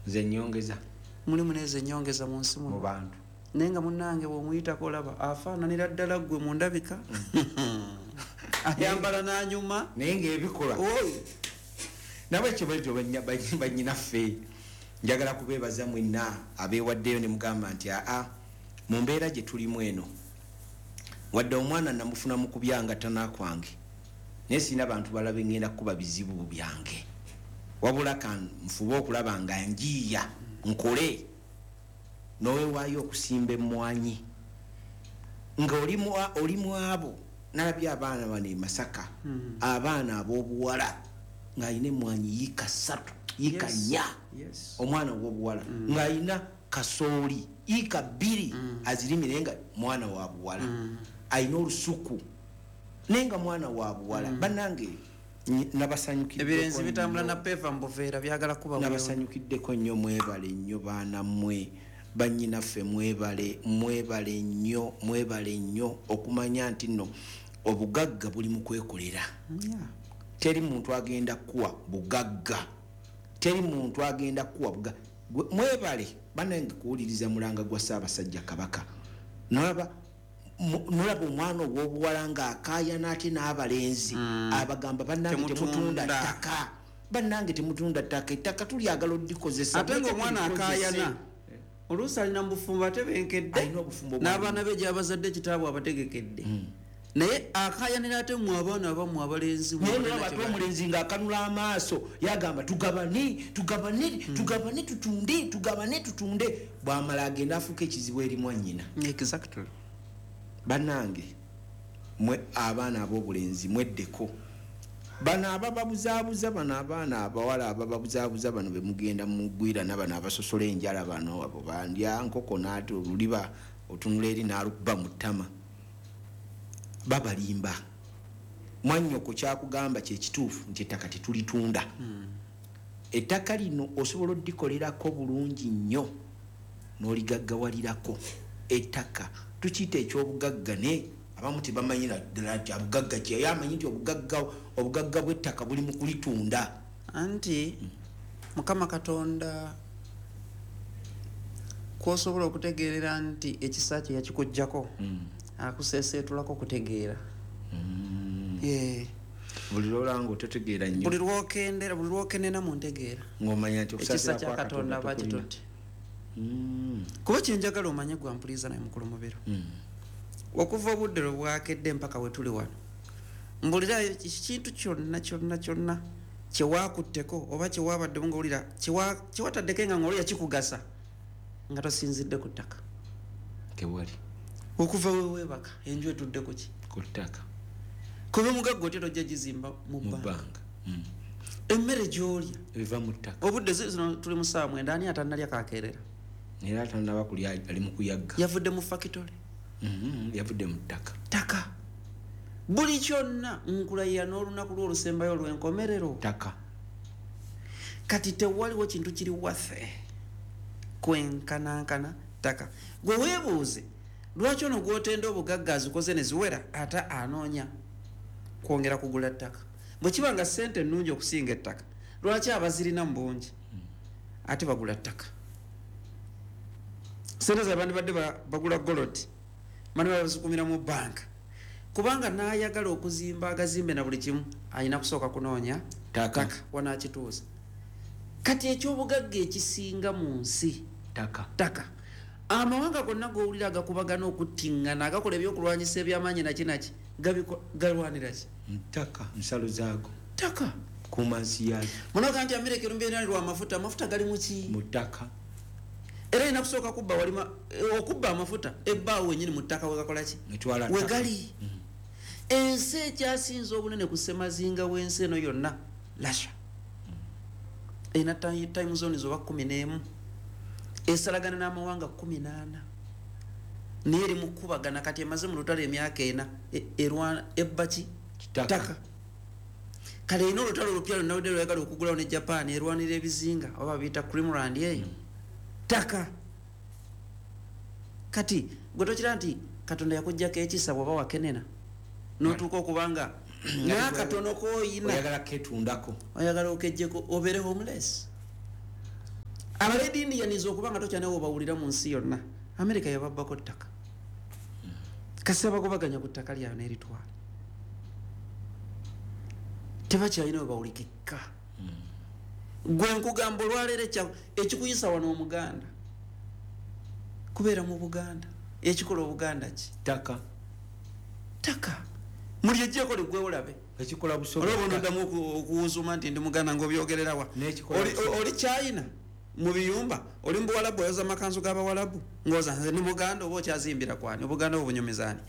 Nze nyongeza. Mulimu nezo enyongeza mu nsi mu muno. Bantu. Naye nga munnange bw'omuyitako olaba afaananira ddala ggwe mu ndabika, ayambala n'anyuma. Naye ngaebikola. Oy. Nabwekyo bwetyo banyinaffe, njagala kubeebaza mwenna abeewaddeyo ne mugamba nti aa, mu mbeera gye tulimu eno, wadde omwana namufuna mu kubyanga tana kwange, naye sirina bantu balabe ngenda kukuba bizibu byange, wabula kan nfube okulaba nga njiiya nkole. Nowewaayo okusimba emmwanyi nga oli mu abo. Nalabye abaana bano e Masaka, abaana ab'obuwala ng'alina emmwanyi yiika 3, yiika 4. Omwana ow'obuwala ng'alina kasooli yiika 2 azirimire, nga mwana wa buwala, alina olusuku naye nga mwana wa buwala. Bannange, nabasanyukiddeko Ebirenzi bitambula nnyo. na peva mu buveera, byagala kuba buyondo. Nabasanyukiddeko nnyo. Mwebale nnyo baana mmwe, bannyinaffe, mwebale, mwebale nnyo, mwebale nnyo okumanya nti nno obugagga buli mu kwekolera. Teri muntu agenda kuwa bugagga, teri muntu agenda kuwa mwebale bannange kuwuliriza mulanga gwa Ssaabasajja Kabaka. Nolaba omwana ow'obuwala ng'akaayana ate n'abalenzi abagamba, "Bannange, temutunda Temutunda. ttaka, bannange, temutunda ttaka, ettaka tulyagala oddikozesa." Ate ngaomwana Muleke tulikozese. akaayana oluusi alina mu bufumbo ate benkedde Alina obufumbo. N'abaana be gyabazadde kitaabwe abategekedde, naye akayanira ate mu abaana abamu abalenzi. Naye nolaba ate omulenzi ng'akanula amaaso, yagamba, "Tugabane, tugabane, tugabane, tutunde, tugabane, tutunde." Bwamala agenda afuuka ekizibu eri mwannyina. Bannange mwe abaana ab'obulenzi, mweddeko bano abababuzaabuza, bano abaana abawala abababuzaabuza, bano bemugenda mugwirana, bano abasosola enjala, bano abo bandya nkoko naate oluliba otunula eri n'alukuba mu ttama. Babalimba. Mwannyoko kyakugamba kyekituufu nti ettaka tetulitunda. Ettaka lino osobola oddikolerako bulungi nnyo n'oligaggawalirako. Ettaka tukiyita ekyobugagga, naye abamu tebamanyira ddala nti abugagga ki. Ye amanyi nti obugagga bw'ettaka buli mu kulitunda. Anti Mukama Katonda kwosobola okutegeerera nti ekisa kye yakikugjako, akuseeseetulako kutegeera. Buli lwolanga ototegeera nnyo. Buli lwokendera, buli lwokenena mu ntegeera, ng'omanya nti ekisa okusaasira kya kwa Katonda Katonda aba tokulina. kitutte. Kuba kyenjagala omanye, gwampuliza naye mukulu Mubiro, okuva obudde lwe bwakedde mpaka we tuli wano, mbulirayo kintu kyonna kyonna kyonna kyewakutteko oba kyewabaddemu ngaowulira kyewataddeko nga ngaolira kikugasa nga tosinzidde ku ttaka. Tewali. Okuva weweebaka, enju etudde ku ki? Ku ttaka. Kuba omugagga otya tojja gizimba mu mu bbanga? Bbanga. Emmere gy'olya, Eva mu ttaka. Obudde zino tuli mu ssaawa 9, ani atannalya kakeerera? Era atanaba kulya ali mu kuyagga. Yavudde mu fakitole. Yavudde mu ttaka. Ttaka. Buli kyonna nkulayira n'olunaku lw'olusembayo olw'enkomerero. Ttaka. Kati tewaliwo kintu kiri waffe kwenkanankana ttaka. Gwe weebuuze lwaki ono gwotenda obugagga azikoze ne ziwera ate anoonya kwongera kugula ttaka. Bwe kiba nga ssente ennungi okusinga ettaka, lwaki abazirina mu bungi ate bagula ttaka? Sente zabandibadde bagula gold, bani bazikumira mu banka, kubanga n'ayagala okuzimba agazimbe na buli kimu alina kusooka kunoonya Ttaka. ttaka wanakituuza. Kati ekyobugagga ekisinga mu nsi Ttaka. ttaka. Amawanga gonna gowulira agakubagana okuttiŋŋana, agakola ebyokulwanyisa ebyamaanyi naki naki, galwanira ki? Ttaka, nsalo zaago. Ttaka. Kuuma nsi yaayo. Munoga nti Amerika erumbyeralirwa amafuta. Amafuta gali muki? Mu ttaka. Era erina kusooka kubba walima okubba amafuta ebbaawo wenyini mu ttaka wegakola ki? Etwala ttaka. Wegali. Ensi ekyasinza obunene ku ssemazinga w'ensi eno yonna, Russia, erina time zones oba 11, esalagana n'amawanga 14, naye eri mu kkubagana. Kati emaze mu lutalo emyaka 4, erwana ebba ki? Ttaka. Ttaka. Kale erina olutalo olupya lwonna lweyagala okugulawo ne Japan, erwanira ebizinga oba biyita Crimland eyo, ttaka. Kati gwe tokira nti Katonda yakugjako ekisa bw'oba wakenena n'otuuka okubanga n'akatono koyina Oyagala ketundako. Oyagala okejjeko obeere homeless. Aba Red Indians okuba nga tokyanawo bawulira mu nsi yonna, America yababbako ttaka. Kasita bagobaganya ku ttaka lyabwe n'eritwala, tebakyalina we bawulikika. Gwe nkugamba olwaleero ekikuyisa wano Omuganda kubeera mu Buganda, ekikola Obuganda ki? Ttaka. Ttaka mulyejjeko liggwewo olabe. Ekikola Busoga. Olaba onoddamu okuwuuzuma nti ndi Muganda ng'obyogererawa. N'ekikola Busoga. Oli China mu biyumba, oli mu Buwalabu oyoza amakanzu g'Abawalabu ng'oza nze ndi Muganda, oba okyazimbira kwani? Obuganda obwo bunyumizaani?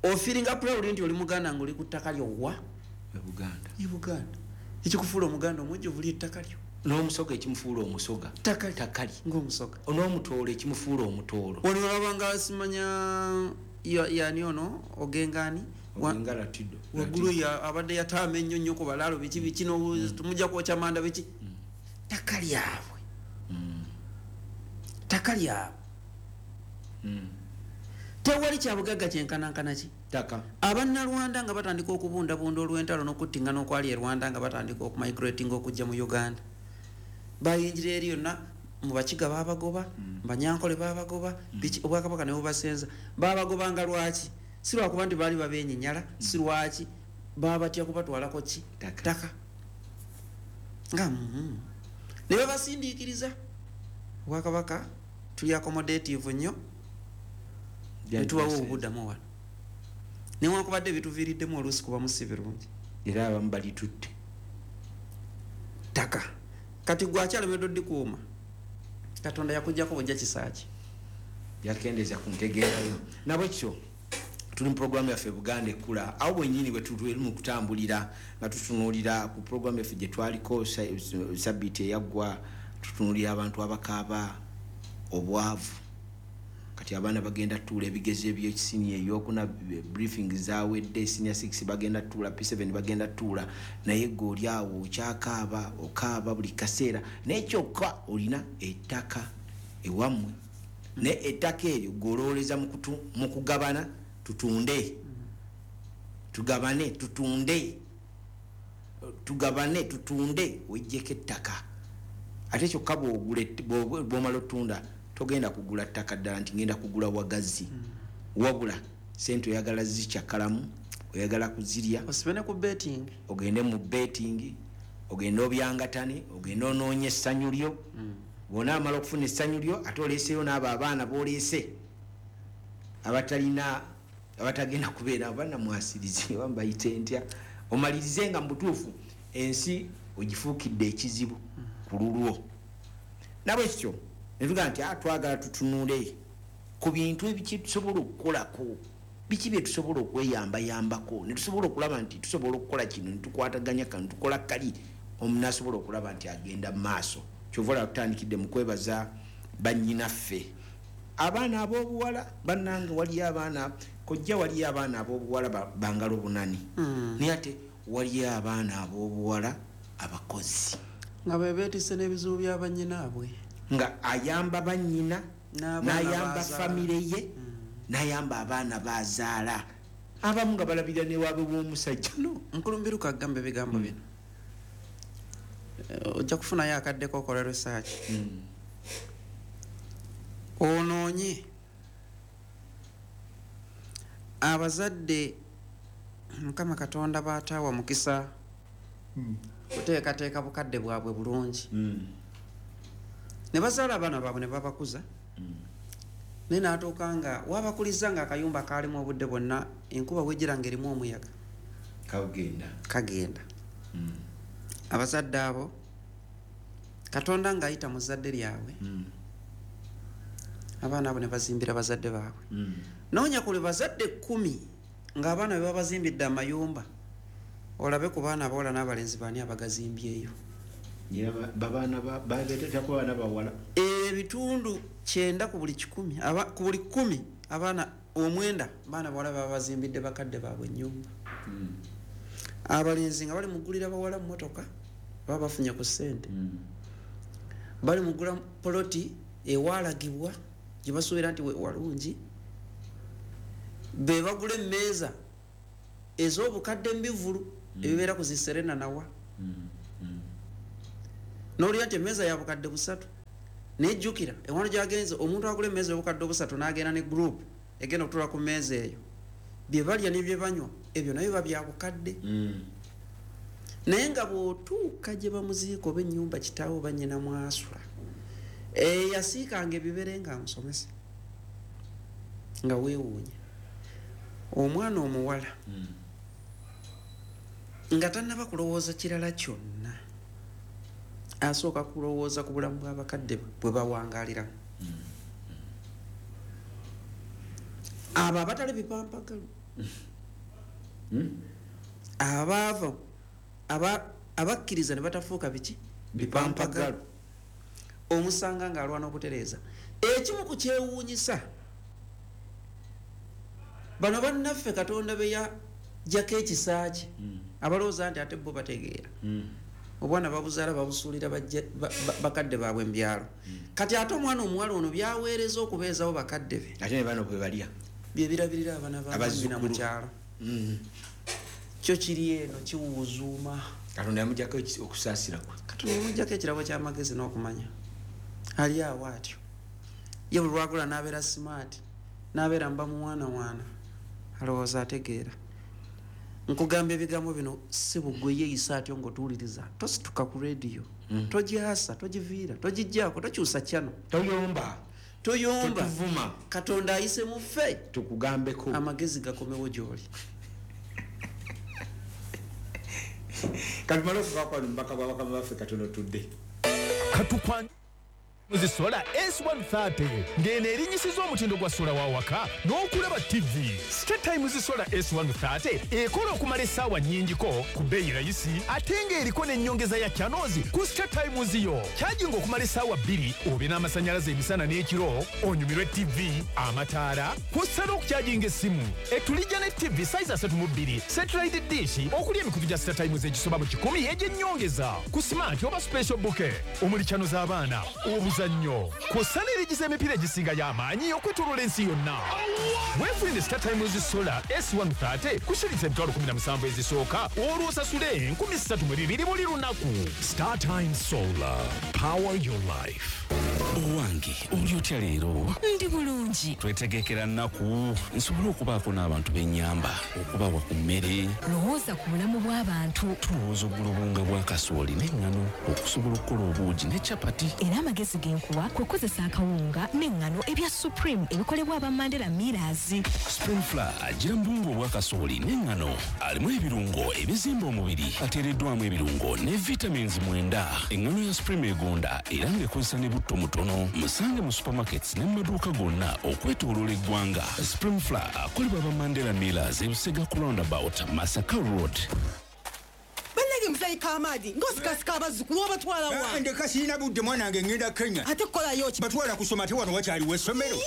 Ofiiringa proud nti oli Muganda ng'oli ku ttaka lyo wa? E Buganda. E Buganda. Ekikufuula Omuganda omujjuvu ly'ettaka lyo. N'Omusoga ekimufuula Omusoga. Ttaka lyo. Ttaka lye. Ng'Omusoga. N'Omutoolo ekimufuula Omutoolo. Wano olaba nga simanya yani ono Ogengani? Ogenga Latido. Waggulu abadde yataama ennyo nnyo ku balaalo biki biki tumujja kwokya manda biki. Ttaka lyabwe. Ttaka lyabwe. Tewali kyabugagga kyenkanankana ki? Ttaka. Abannalwanda nga batandika okubundabunda olw'entalo n'okuttingana okwali e Rwanda, nga batandika okumigrating okujja mu Uganda. Bayingira eri yonna, mu Bakiga baabagoba, mu Banyankole baabagoba, biki, Obwakabaka ne bubasenza. Baabagobanga lwaki? Si lwakuba nti baali babeenyinyala, si lwaki baabatya kubatwalako ki? Ttaka. Ttaka. Nga, Ne babasindiikiriza. Obwakabaka tuli accommodative nnyo, ne tubawa obuddamu wano. Newankubadde bituviiriddemu oluusi kuba si birungi. Era abamu balitutte. Ttaka. Kati gwe akyalemeddwa oddikuuma, Katonda yakuggyako bujja kisaaki. Yakendeeza ku ntegeerayo. Nabwekityo tuli mu programu yaffe Buganda Ekkula, awo bwennyini bwe tuli mu kutambulira nga tutunuulira ku programu yaffe gye twaliko sabbiiti eyaggwa, tutunuulira abantu abakaaba obwavu. Kati abaana bagenda tuula ebigezo eby'ekisiniya ey'okuna, briefing zaawedde, senior 6 bagenda tuula, P7 bagenda tuula, naye gwe oli awo okyakaaba, okaaba buli kaseera, naye kyokka olina ettaka ewammwe, naye ettaka eryo gwe olowoleza mu kugabana, tutunde, tugabane, tutunde, tugabane, tutunde, wejjeko ettaka. Ate kyokka bw'omala otunda, togenda kugula ttaka ddala nti ngenda kugula wagazi. Wabula sente oyagala zikyakalamu, oyagala kuzirya. Osibe ne ku betting. Ogende mu betting, ogende obyangatane, ogende onoonye essanyu lyo. Bw'onaamala okufuna essanyu lyo, ate oleeseyo n'abo abaana b'oleese abatalina, abatagenda kubeera, bannamwasirize, oba mbayite ntya, omalirize nga mu butuufu ensi ogifuukidde ekizibu ku lulwo. Nabwekityo ne tugamba nti, twagala tutunule ku bintu ebiki tusobola okukolako, biki bye tusobola okweyambayambako, ne tusobola okulaba nti tusobola okukola kino, ne tukwataganya kano, tukola kali, omuntu asobola okulaba nti agenda mu maaso. Kyova olaba tutandikidde mu kwebaza bannyinaffe. Abaana ab'obuwala, bannange waliyo abaana, kojja waliyo abaana ab'obuwala bangalo bunani. Naye ate waliyo abaana ab'obuwala abakozi. Nga be beetisse n'ebizibu bya bannyinaabwe. Nga ayamba bannyina, N'abaana n'ayamba b'azaala. famire ye, n'ayamba abaana b'azaala. Abamu nga balabira ne waabwe w'omusajja. No, Nkulumbiruka agamba ebigambo bino. Ojja kufunayo akadde k'okola research. Onoonye abazadde Mukama Katonda b'ataawa mukisa kuteekateeka bukadde bwabwe bulungi. Ne bazaala abaana baabwe ne babakuza. Naye n'atuuka nga wabakulizza ng'akayumba kaalimu obudde bwonna, enkuba bw'ejjira ng'erimu omuyaga. Kagenda. Kagenda. Abazadde abo Katonda ng'ayita mu zzadde lyabwe. Abaana abo ne bazimbira bazadde baabwe. Noonya ku bazadde 10 ng'abaana be babazimbidde amayumba, olabe ku baana abawala n'abalenzi baani abagazimbyeyo. Babaana babeetako abaana bawala. Ebitundu 90 ku buli 100, ku buli 10 abaana 9 baana bawala baba bazimbidde bakadde baabwe ennyumba. Abalenzi nga bali mugulira bawala mmotoka, baba bafunye ku ssente. Bali mugula poloti ewalagibwa gye basuubira nti walungi. Be bagula emmeeza ez'obukadde embivvulu ebibeera ku zi Serena nawa. N'olya nti emmeeza ya bukadde 3. Naye jjukira ewano gyagenze, omuntu agula emmeeza 3000 n'agenda ne group egenda okutuula ku mmeeza eyo, bye balya ne bye banywa ebyo nayo biba bya bukadde. Naye nga bw'otuuka gye bamuziika oba ennyumba kitaawe oba nnyina mwasula, eyasiikanga ebibere ng'amusomesa, nga weewuunya omwana omuwala nga tannaba kulowooza kirala kyonna, asooka kulowooza ku bulamu bw'abakadde bwe bawangaaliramu. Abo abatali bipampagalu, abaava abakkiriza ne batafuuka biki? Bipampagalu. Omusanga ng'alwana okutereeza. Ekimu ku kyewuunyisa, bano bannaffe Katonda be yaggyako ekisa kye, abalowooza nti ate bo bategeera, obwana babuzaala babusuulira bakadde baabwe mu byalo. Kati ate omwana omuwala ono byaweereza okubeezawo bakadde be, ate ne bano bwe balya bye birabirira abaana ba nnyina mu kyalo. Kyo kiri eno kiwuuzuuma. Katonda yamuggyako okusaasira kwe. Katonda yamuggyako ekirabo ky'amagezi n'okumanya. Ali awo atyo ye buli lwagula n'abeera smart, n'abeera mba muwaanawaana, alowooza ategeera. Nkugamba ebigambo bino si bugwe yeeyisa atyo ng'otuwuliriza. Tosituka ku rediyo, togyasa, togiviira, togijjaako, tokyusa channel, toyomba, toyomba, totuvuma. Katonda ayise mu ffe tukugambeko, amagezi gakomewo gy'oli. Katumale okuvaako wano mubaka bwa bakama baffe katono tudde. Katukwan Muzisola S130 ng'eno erinnyisiza omutindo gwa sola wa waka n'okulaba TV. Star Times Solar S130 ekola okumala essaawa nnyingiko ku bbeeyi rayisi, ate ng'eriko n'ennyongeza ya channels ku Star Times yo. Charging okumala essaawa 2 obe n'amasannyalaze emisana n'ekiro, onyumirwe TV, amataala, kw'ossa n'okucharginga essimu. Etulijja ne TV size 32, satellite dish okuli emikutu gya Star Times egisoba mu 100 egy'ennyongeza ku smart oba special bouquet omuli channel z'abaana, obuzannyo, kw'ossa n'erigiza emipiira egisinga y'amaanyi okwetooloola ensi yonna. Weefunire Star Times Solar S130 ku shilingi 17,000 ezisooka, olwo osasule 3,200 buli lunaku. Star Times Solar, power your life. Owange, oli otya leero? Ndi bulungi. Twetegekera nnaku nsobole okubaako n'abantu b'ennyamba, okubawa ku mmere. Lowooza ku bulamu bw'abantu. Tulowooza okugula obuwunga bwa kasooli n'eŋŋano okusobola okukola obuugi ne capati. Era amagezi ge nkuwa kwe kukozesa akawunga n'eŋŋano ebya Supreme ebikolebwa aba Mandela Millers. Supreme Flour agira mu buwunga obwa kasooli n'eŋŋano, alimu ebirungo ebizimba omubiri, ateereddwamu ebirungo ne vitamins 9. Eŋŋano ya Supreme egonda era ng'ekozesa ne butto mutono. Musange mu supermarkets ne mu maduuka gonna okwetooloola eggwanga. Supreme Flour akolebwa aba Mandela Millers e Busega ku roundabout Masaka Road. Bannange muzeeyi Kamadi, ng'osikasika abazzukulu obatwala wa? Ndeka sirina budde mwana wange, ŋŋenda Kenya. Ate kukolayo ki? Batwala kusoma, ate wano wakyaliwo essomero.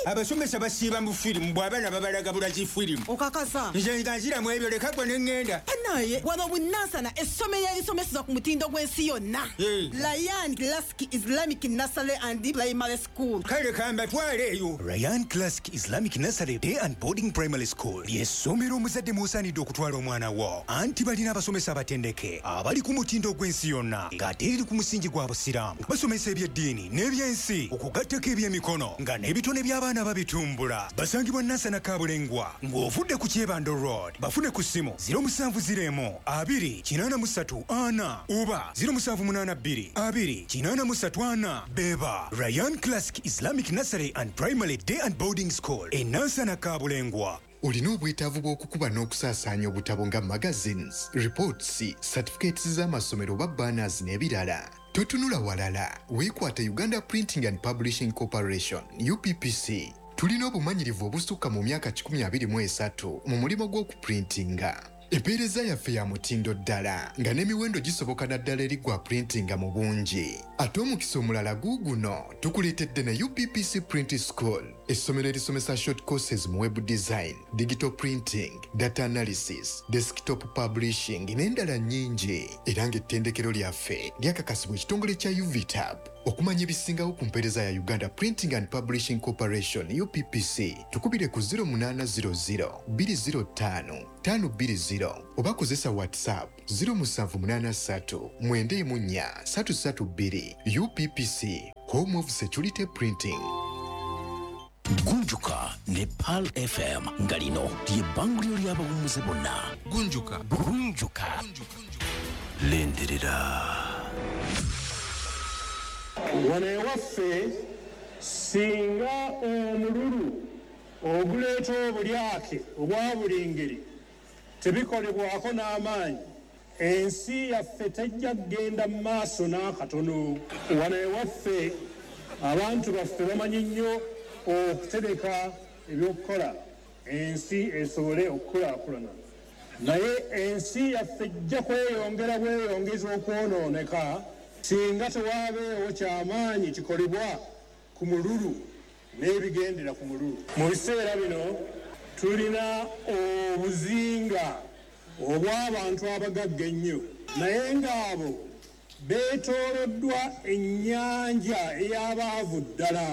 Abasomesa basiiba mu firimu, bw'abaana babalaga bulazi firimu. Okakasa? Nze nga nziramu ebyo, leka gwe ne ŋŋenda. Bannaaye, wano Bunansana essomero erisomeseza ku mutindo gw'ensi yonna. Ryan Classic Islamic Nursery and Primary School. Kale kambatwale eyo. Ryan Classic Islamic Nursery Day and Boarding Primary School ly'essomero omuzadde mw'osaanidde okutwala omwana wo, anti balina abasomesa abatendeke abali ku mutindo gw'ensi yonna ng'ate eriri ku musingi gwa Busiraamu. Basomesa eby'eddiini n'ebyensi okugattako ebyemikono nga n'ebitone by'abaana babitumbula. Basangibwa Nansana Kabulengwa ng'ovudde ku Kyebando Road. Bafune ku ssimu 0701 2 83 4 oba 0782 2 83 4. Beba Ryan Classic Islamic Nursery and Primary Day and Boarding School e Nansana Kabulengwa. Olina obwetaavu bw'okukuba n'okusaasaanya obutabo nga magazines, reports, certificates z'amasomero oba banners n'ebirala. Totunula walala, weekwate Uganda Printing and Publishing Corporation, UPPC. Tulina obumanyirivu obusukka mu myaka 123 mu mulimu gw'okuprintinga. Empeereza yaffe ya mutindo ddala nga n'emiwendo gisoboka naddala eri gwa printinga mu bungi. Ate omukisa omulala guuguno, tukuleetedde ne UPPC Print School, essomero erisomesa short courses mu web design, digital printing, data analysis, desktop publishing n'endala nnyingi. Era ng'ettendekero lyaffe lyakakasibwa ekitongole kya UVTAB. Okumanya ebisingawo ku mpeereza ya Uganda Printing and Publishing Corporation UPPC, tukubire ku 0800 205 520 oba kozesa WhatsApp 0783 94 332. UPPC, Home of security printing. Gunjuka ne Pearl FM nga lino lyebbanguliro ly'abawummuze bonna. Gunjuka. Gunjuka. Lindirira. Wano ewaffe singa omululu oguleeta obulyake obwa buli ngeri tebikolebwako n'amaanyi, ensi yaffe tejja kugenda mu maaso n'akatono. Wano ewaffe abantu baffe bamanyi nnyo okutereka ebyokukola ensi esobole okukulaakulana, naye ensi yaffe ejja kweyongera bweyongeza okwonooneka singa tewaabeewo kyamaanyi kikolebwa ku mululu n'ebigendera ku mululu. Mu biseera bino tulina obuzinga obw'abantu abagagga ennyo, naye ng'abo beetooloddwa ennyanja ey'abaavu ddala.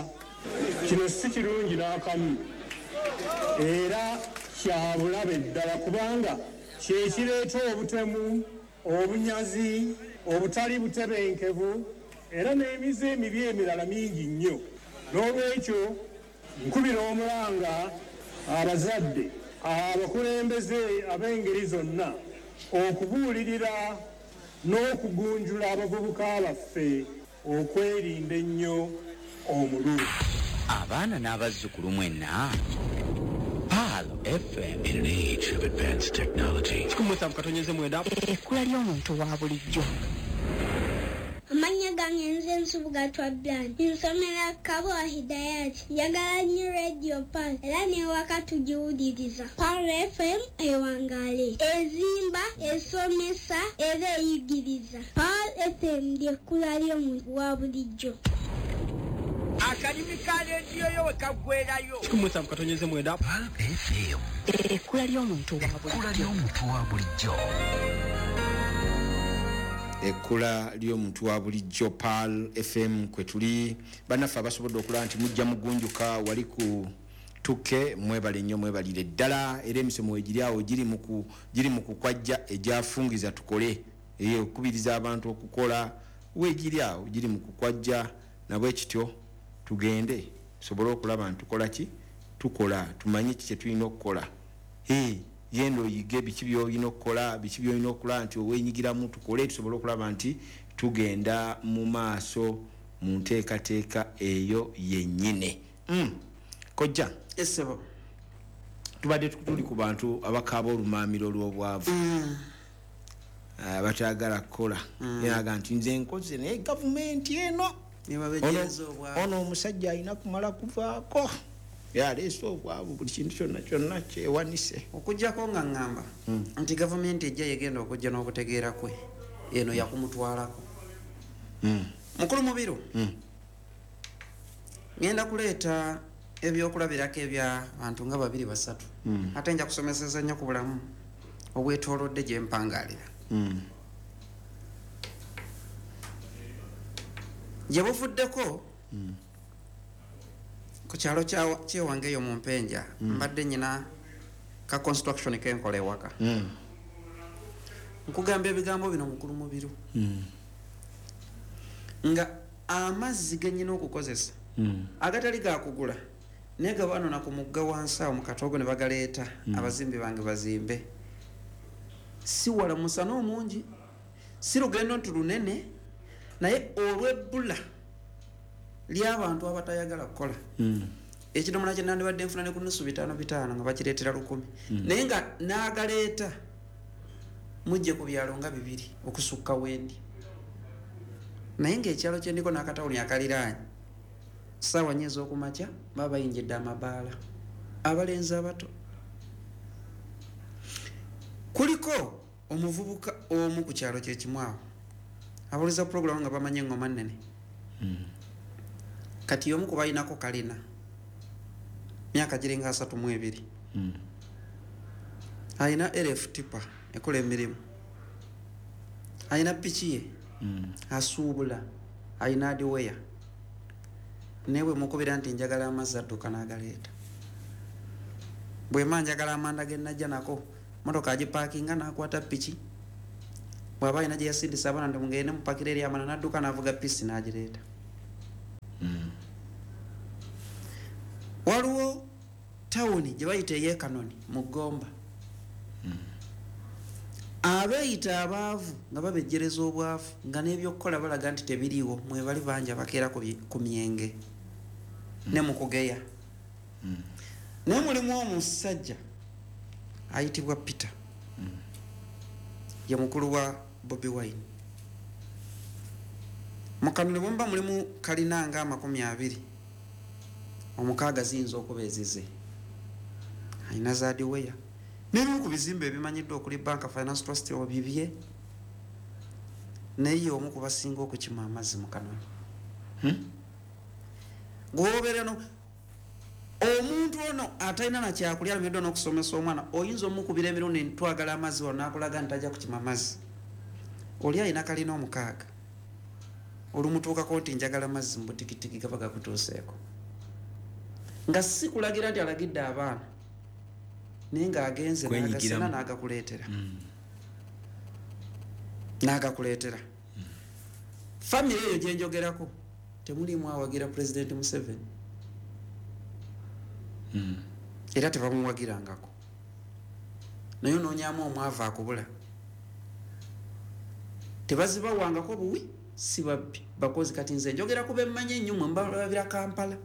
Kino si kirungi n'akamu era kya bulabe ddala, kubanga kye kireeta obutemu, obunyazi, obutali butebenkevu era n'emize emibi emirala mingi nnyo. N'olwekyo nkubira omulanga abazadde, abakulembeze ab'engeri zonna okubuulirira n'okugunjula abavubuka baffe okwerinda ennyo omululu. Abaana n'abazzukulu mwenna, Pearl FM. In an age of advanced technology. 17.9. Ekkula ly'omuntu wa bulijjo. Amannya gange nze Nsubuga Twablan. Nsomera Kabowa Hidayat. Njagala nnyo Radio Pearl era n'ewaka tugiwuliriza. Pearl FM ewangaale, ezimba, esomesa era eyigiriza. Pearl FM ly'ekkula ly'omuntu wa bulijjo. Akalimi ka leediyo yo we kaggwerayo. 17.9. Pearl FM. Ekkula ly'omuntu wa bulijjo. Ekkula ly'omuntu wa bulijjo. Ekkula ly'omuntu wa bulijjo, Pearl FM kwe tuli. Bannaffe abasobodde okulaba nti mujja mugunjuka wali ku tuke, mwebale nnyo, mwebalire ddala. Era emisomo egiri awo giri mu kukwajja egyafungiza tukole, okukubiriza abantu okukola, weegiri awo giri mu kukwajja. Nabwe kityo tugende tusobole okulaba nti tukola ki, tukola, tumanye ki kye tulina okukola. Genda oyige biki by'olina okukola, biki by'olina okulaba nti oweenyigiramu, tukole tusobole okulaba nti tugenda mu maaso mu nteekateeka eyo yennyini. Kojja, Essebo. tubadde tuli ku bantu abakaaba olumaamiro lw'obwavu, abatayagala kukola. Yagamba nti nze nkoze naye gavumenti eno Nebabejereza obwavu. Ono omusajja alina kumala kuvaako, yaleese obwavu, buli kintu kyonna kyonna kyewanise. Okuggyako nga ŋŋamba nti gavumenti ejja yegenda okujja n'okutegeera kwe, eno yakumutwalako. Mukulu Mubiru, ngenda kuleeta ebyokulabirako eby'abantu nga babiri basatu, ate nja kusomeseza nnyo ku bulamu obwetoolodde gye mpangaalira. Gye buvuddeko ku kyalo kyewange eyo mu Mpenja, mbadde nyina ka construction kenkola ewaka. Nkugamba ebigambo bino mukulu Mubiru, nga amazzi ge nnyina okukozesa agatali gakugula, naye gabanona ku mugga wansi awo mu katoogo ne bagaleeta, abazimbi bange bazimbe. Si wala musana omungi, si lugendo nti lunene, naye olw'ebbula ly'abantu abatayagala kukola. Ekidomola kye nandibadde nfuna ne ku nusu bitaano bitaano nga bakireetera 10, naye nga n'agaleeta mujje ku byalo nga 2 okusukka wendi. Naye ng'ekyalo kye ndiko n'akatawuni akaliraanye, ssaawa 4 ez'okumakya baba bayingidde amabaala, abalenzi abato. Kuliko omuvubuka omu ku kyalo kye kimu awo abuliza pulogulaamu nga bamanyi engoma nnene. Kati omu ku balinako kalina myaka giringa 32, alina LF tipa ekola emirimu, alina piki ye, asuubula, alina adiweya, naye bwe mukubira nti njagala amazzi adduka n'agaleeta. Bwe mba njagala amanda ge najja nako, motoka agipaakinga n'akwata piki, bw'aba alina gye yasindisa abaana nti mugende mupakire eri amanda, n'adduka n'avuga pisi n'agireeta. Waliwo tawuni gye bayita ey'ekanoni mu Ggomba. Abeeyita abaavu nga babejjereza obwavu, nga n'ebyokukola balaga nti tebiriiwo, mwebali bangi abakeera ku myenge ne mu kugeya. Naye mulimu omusajja ayitibwa Peter, ye mukulu wa Bobi Wine. Mu Kanoni bwe mulimu kalina nga 20, 6 ziyinza okuba ezize. Alina zaadiweya n'ebimu ku bizimbe ebimanyiddwa okuli Bank Finance Trust obibye, naye omu ku basinga okukima amazzi mu Kanoni. Gwobeera no omuntu ono atalina nakyakulya, alemeddwa n'okusomesa omwana, oyinza omukubira emirundi ntwagala amazzi wano n'akulaga nti tajja kukima amazzi. Oli alina kalina 6, olumutuukako nti njagala mazzi mu butikitiki gaba gakutuuseeko, nga si kulagira nti alagidde abaana, naye ng'agenze n'agasena n'agakuleetera n'agakuleetera. Famire eyo gye njogerako temulimu awagira Pulezidenti Museveni, era tebamuwagirangako, naye onoonyamu omwavu akubula. Tebazibawangako buwi, si babbi, bakozi. Kati nze njogera ku bemmanyi ennyo, mwe mbalabira Kampala,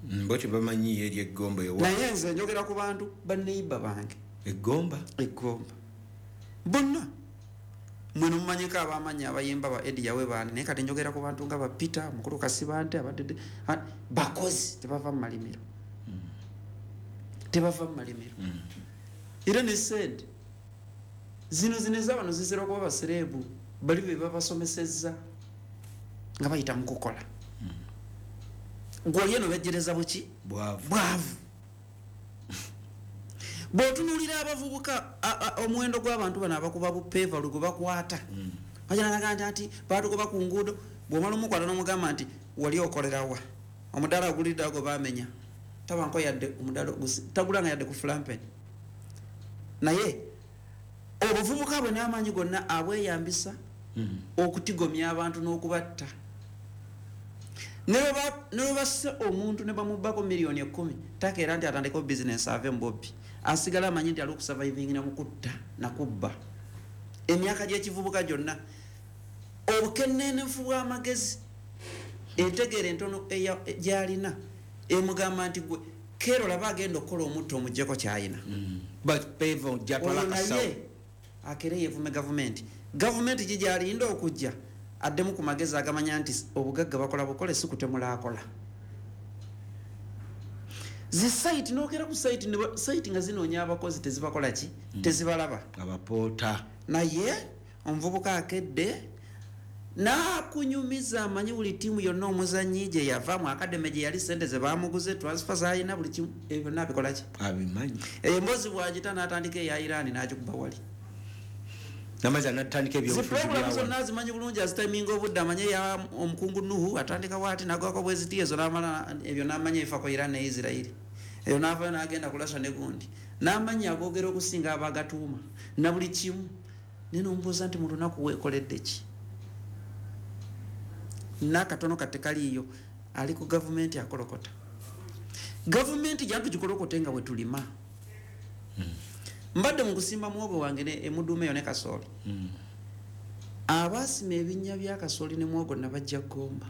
Mbo tebamanyi eri Eggomba ewa. Naye nze njogera ku bantu banneiba bange Eggomba, Eggomba bonna mwe nomumanyiko abamanyi abayimba ba Edi Yawe baani, naye kati njogera ku bantu nga ba Peter mukulu Kasibante abadde bakozi, tebava mu malimiro, tebava mu malimiro. Era ne sente zino ez'abano zizira okuba basereebu, bali be babasomesezza nga bayita mu kukola. Gwoli eno bejjereza buki? Bwavu. Bw'otunuulira abavubuka, omuwendo gw'abantu bano abakuba bupeeva lwe gwe bakwata, bajanalaga nti baatugoba ku nguudo. Bw'omala omukwata n'omugamba nti wali okolerawa, omudaala ogulidde ago baamenya, tabanko yadde omudaala tagulanga yadde ku flampeni. Naye obuvubuka bwe n'amaanyi gonna abweyambisa okutigomya abantu n'okubatta. Ne bwe basse omuntu ne bamubbako miliyoni 10, takeera nti atandikewo bizinesi ave mu bobbi, asigala amanyi nti ali okusurvivingira mu kutta nakubba. Emyaka gy'ekivubuka gyonna, obukennenefu bw'amagezi, entegeera entono gy'alina emugamba nti gwe keera olaba agenda okukola omutto omugyeko kyayina. Oyo naye akere yeevume gavumenti. Gavumenti gi gyalinda okujja addemu ku magezi agamanya nti obugagga bakola bukole, si kutemula akola zi site. Nokera ku site, site nga zinoonya abakozi tezibakola ki, tezibalaba. Abapoota. Naye omuvubuka akedde n'akunyumiza amanyi buli ttiimu yonna, omuzanyi gye yava mu academy, gye yali, sente ze bamuguze, transfer z'alina, buli kimu, ebyo byonna abikola ki? Abimanyi. Emboozi bw'agita n'atandika eya Iran n'agikuba wali. Namazi anatandika Zi ebyobufuzi programu byawa. Zonna azimanyi bulungi, azitiminga obudde, amanye ya omukungu Nuhu atandika bwati nagwako bweziti ezo, n'amala ebyo n'amanya ebifa ku Iran ne Isirairi. Eyo n'avayo n'agenda ku Russia ne gundi, n'amanya agogera okusinga abagatuuma na buli kimu. Naye nomubuuza nti mu lunaku weekoledde ki? N'akatono kate kaliiyo. Ali ku gavumenti akolokota gavumenti jantu gikolokote nga bwe tulima. Mbadde mu kusimba muwogo wange ne emuduuma eyo ne kasooli. Abaasima ebinnya bya kasooli ne muwogo nabajja Ggomba.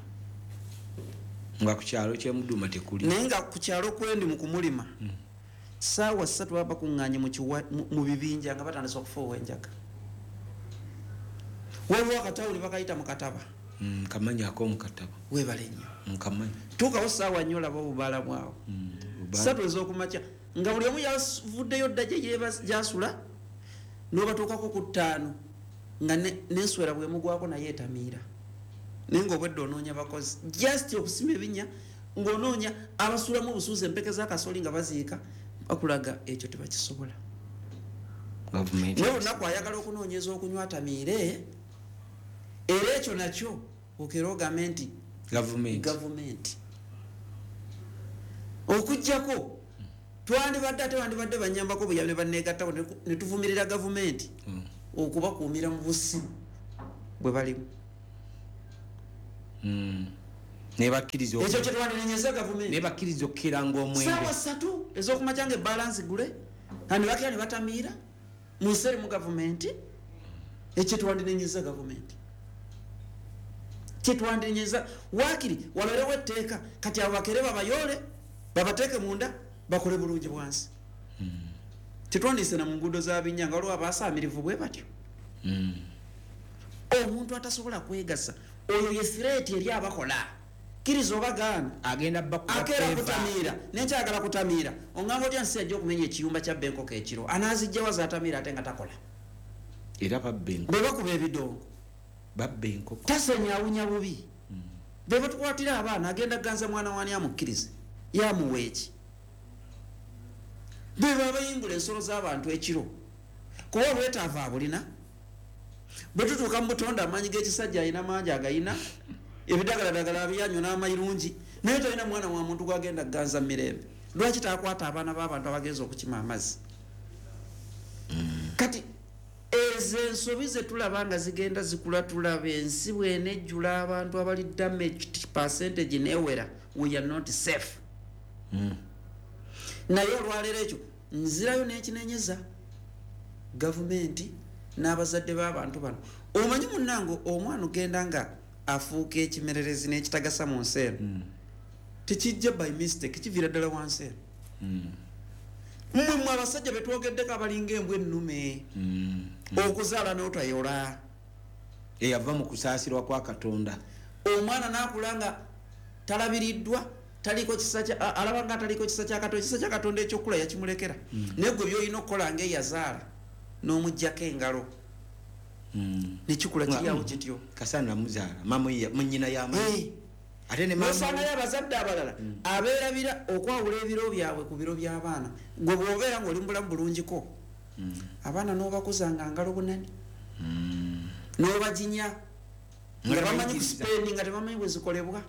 Nga ku kyalo kyemuduma tekuli. Naye nga ku kyalo kwendi mu kumulima, saawa 3 baba bakuŋŋaanye mu bibinja nga batandise okufuuwa enjaga. Waliwo akatawuli bakayita mu kataba. Nkamanyi ak'omukataba. Weebale nnyo. Nkamanyi. Tuukawo saawa 4, olaba obubaala bwawo. 3 ez'okumakya nga buli omu yavuddeyo dda gye gyasula, n'obatuukako ku 5 nga n'enswera bwemugwako naye etamiira. Naye ngaobwedde onoonya bakozi just okusima ebinnya, ng'onoonya abasulamu obusuuzi, empeke z'akasooli nga baziika, bakulaga ekyo tebakisobola. Gavumenti. Naye olunaku ayagala okunoonyeza okunywa atamiire, era ekyo nakyo okera ogambe nti gavumenti. Gavumenti okugjako twandibadde, ate wandibadde banyambako buyambi ne banneegattako ne tuvumirira gavumenti okubakuumira mu busimu bwe balimu. Nebakkiriza Ekyo kyetwandinenyeza gavumenti. Nebakkiriza okukiranga omwenge. Saawa 3 ez'okumakya nga ebalansi gule, kandi bakira ne batamiira mu nsi erimu gavumenti. Ekyo twandinenyeza gavumenti, kyetwandinenyeza. Waakiri wabeerewo etteeka kati abo bakere babayoole, babateeke munda, bakole bulungi bwansi. Tetwandiise na mu nguudo za binnya nga waliwo abaasaamirivu bwe batyo. Omuntu atasobola kwegasa oyo ye threat eri abakola. Kkiriza oba gaana, agenda bakuba akeera peva. Kutamiira nenkyagala kutamiira, oŋŋamba otya nsi ajja okumenya ekiyumba kya bbenkoko ekiro? Anaazijjawa zaatamiira ate nga takola? Era babba enkoko. Bwe bakuba ebidongo, Babba enkoko. Tasenya, awunya bubi. Be batukwatira abaana, agenda ganza mwana wani amukkirize yamuwa eki? Be babayimbula ensolo z'abantu ekiro, kuba obwetaavu abulina. Bwe tutuuka mu butonde, amaanyi g'ekisajja alina mangi, agayina ebidagaladagala abyanywa n'amayirungi, naye talina mwana wa muntu gwagenda kuganza mu mirembe. Lwaki takwata abaana b'abantu abagenza okukima amazzi? Kati ezo ensobi zetulaba nga zigenda zikula, tulaba ensi bwenejjula abantu abali damaged, percentage newera, we are not safe. Naye olwaleero ekyo nzirayo n'ekinenyeza gavumenti n'abazadde b'abantu bano. Omanyi munnange, omwana ogenda nga afuuka ekimererezi n'ekitagasa mu nsi eno, tekijja by mistake, kiviira ddala wansi eno. Mmwe mmwe abasajja betwogeddeko abalinga embwa ennume, okuzaala n'otayola, Eyava mu kusaasirwa kwa Katonda. Omwana n'akula nga talabiriddwa, taliko kisa kya alaba nga taliko kisa kya Katonda. Ekisa kya Katonda ekyokula yakimulekera, naye gwe byolina okukola ngaeyazaala n'omuggyako engalo, nekikula kiryawo kityo. Kasana muzaala munyina yamanyi ate ne mama. Nosangayo abazadde abalala abeerabira okwawula ebiro byabwe ku biro by'abaana. Gwe bw'obeera ng'oli mu bulamu bulungiko, abaana n'obakuza nga ngalo bunani, n'obaginya nga bamanyi bayigiriza. Kusipendi nga tebamanyi bwe zikolebwa.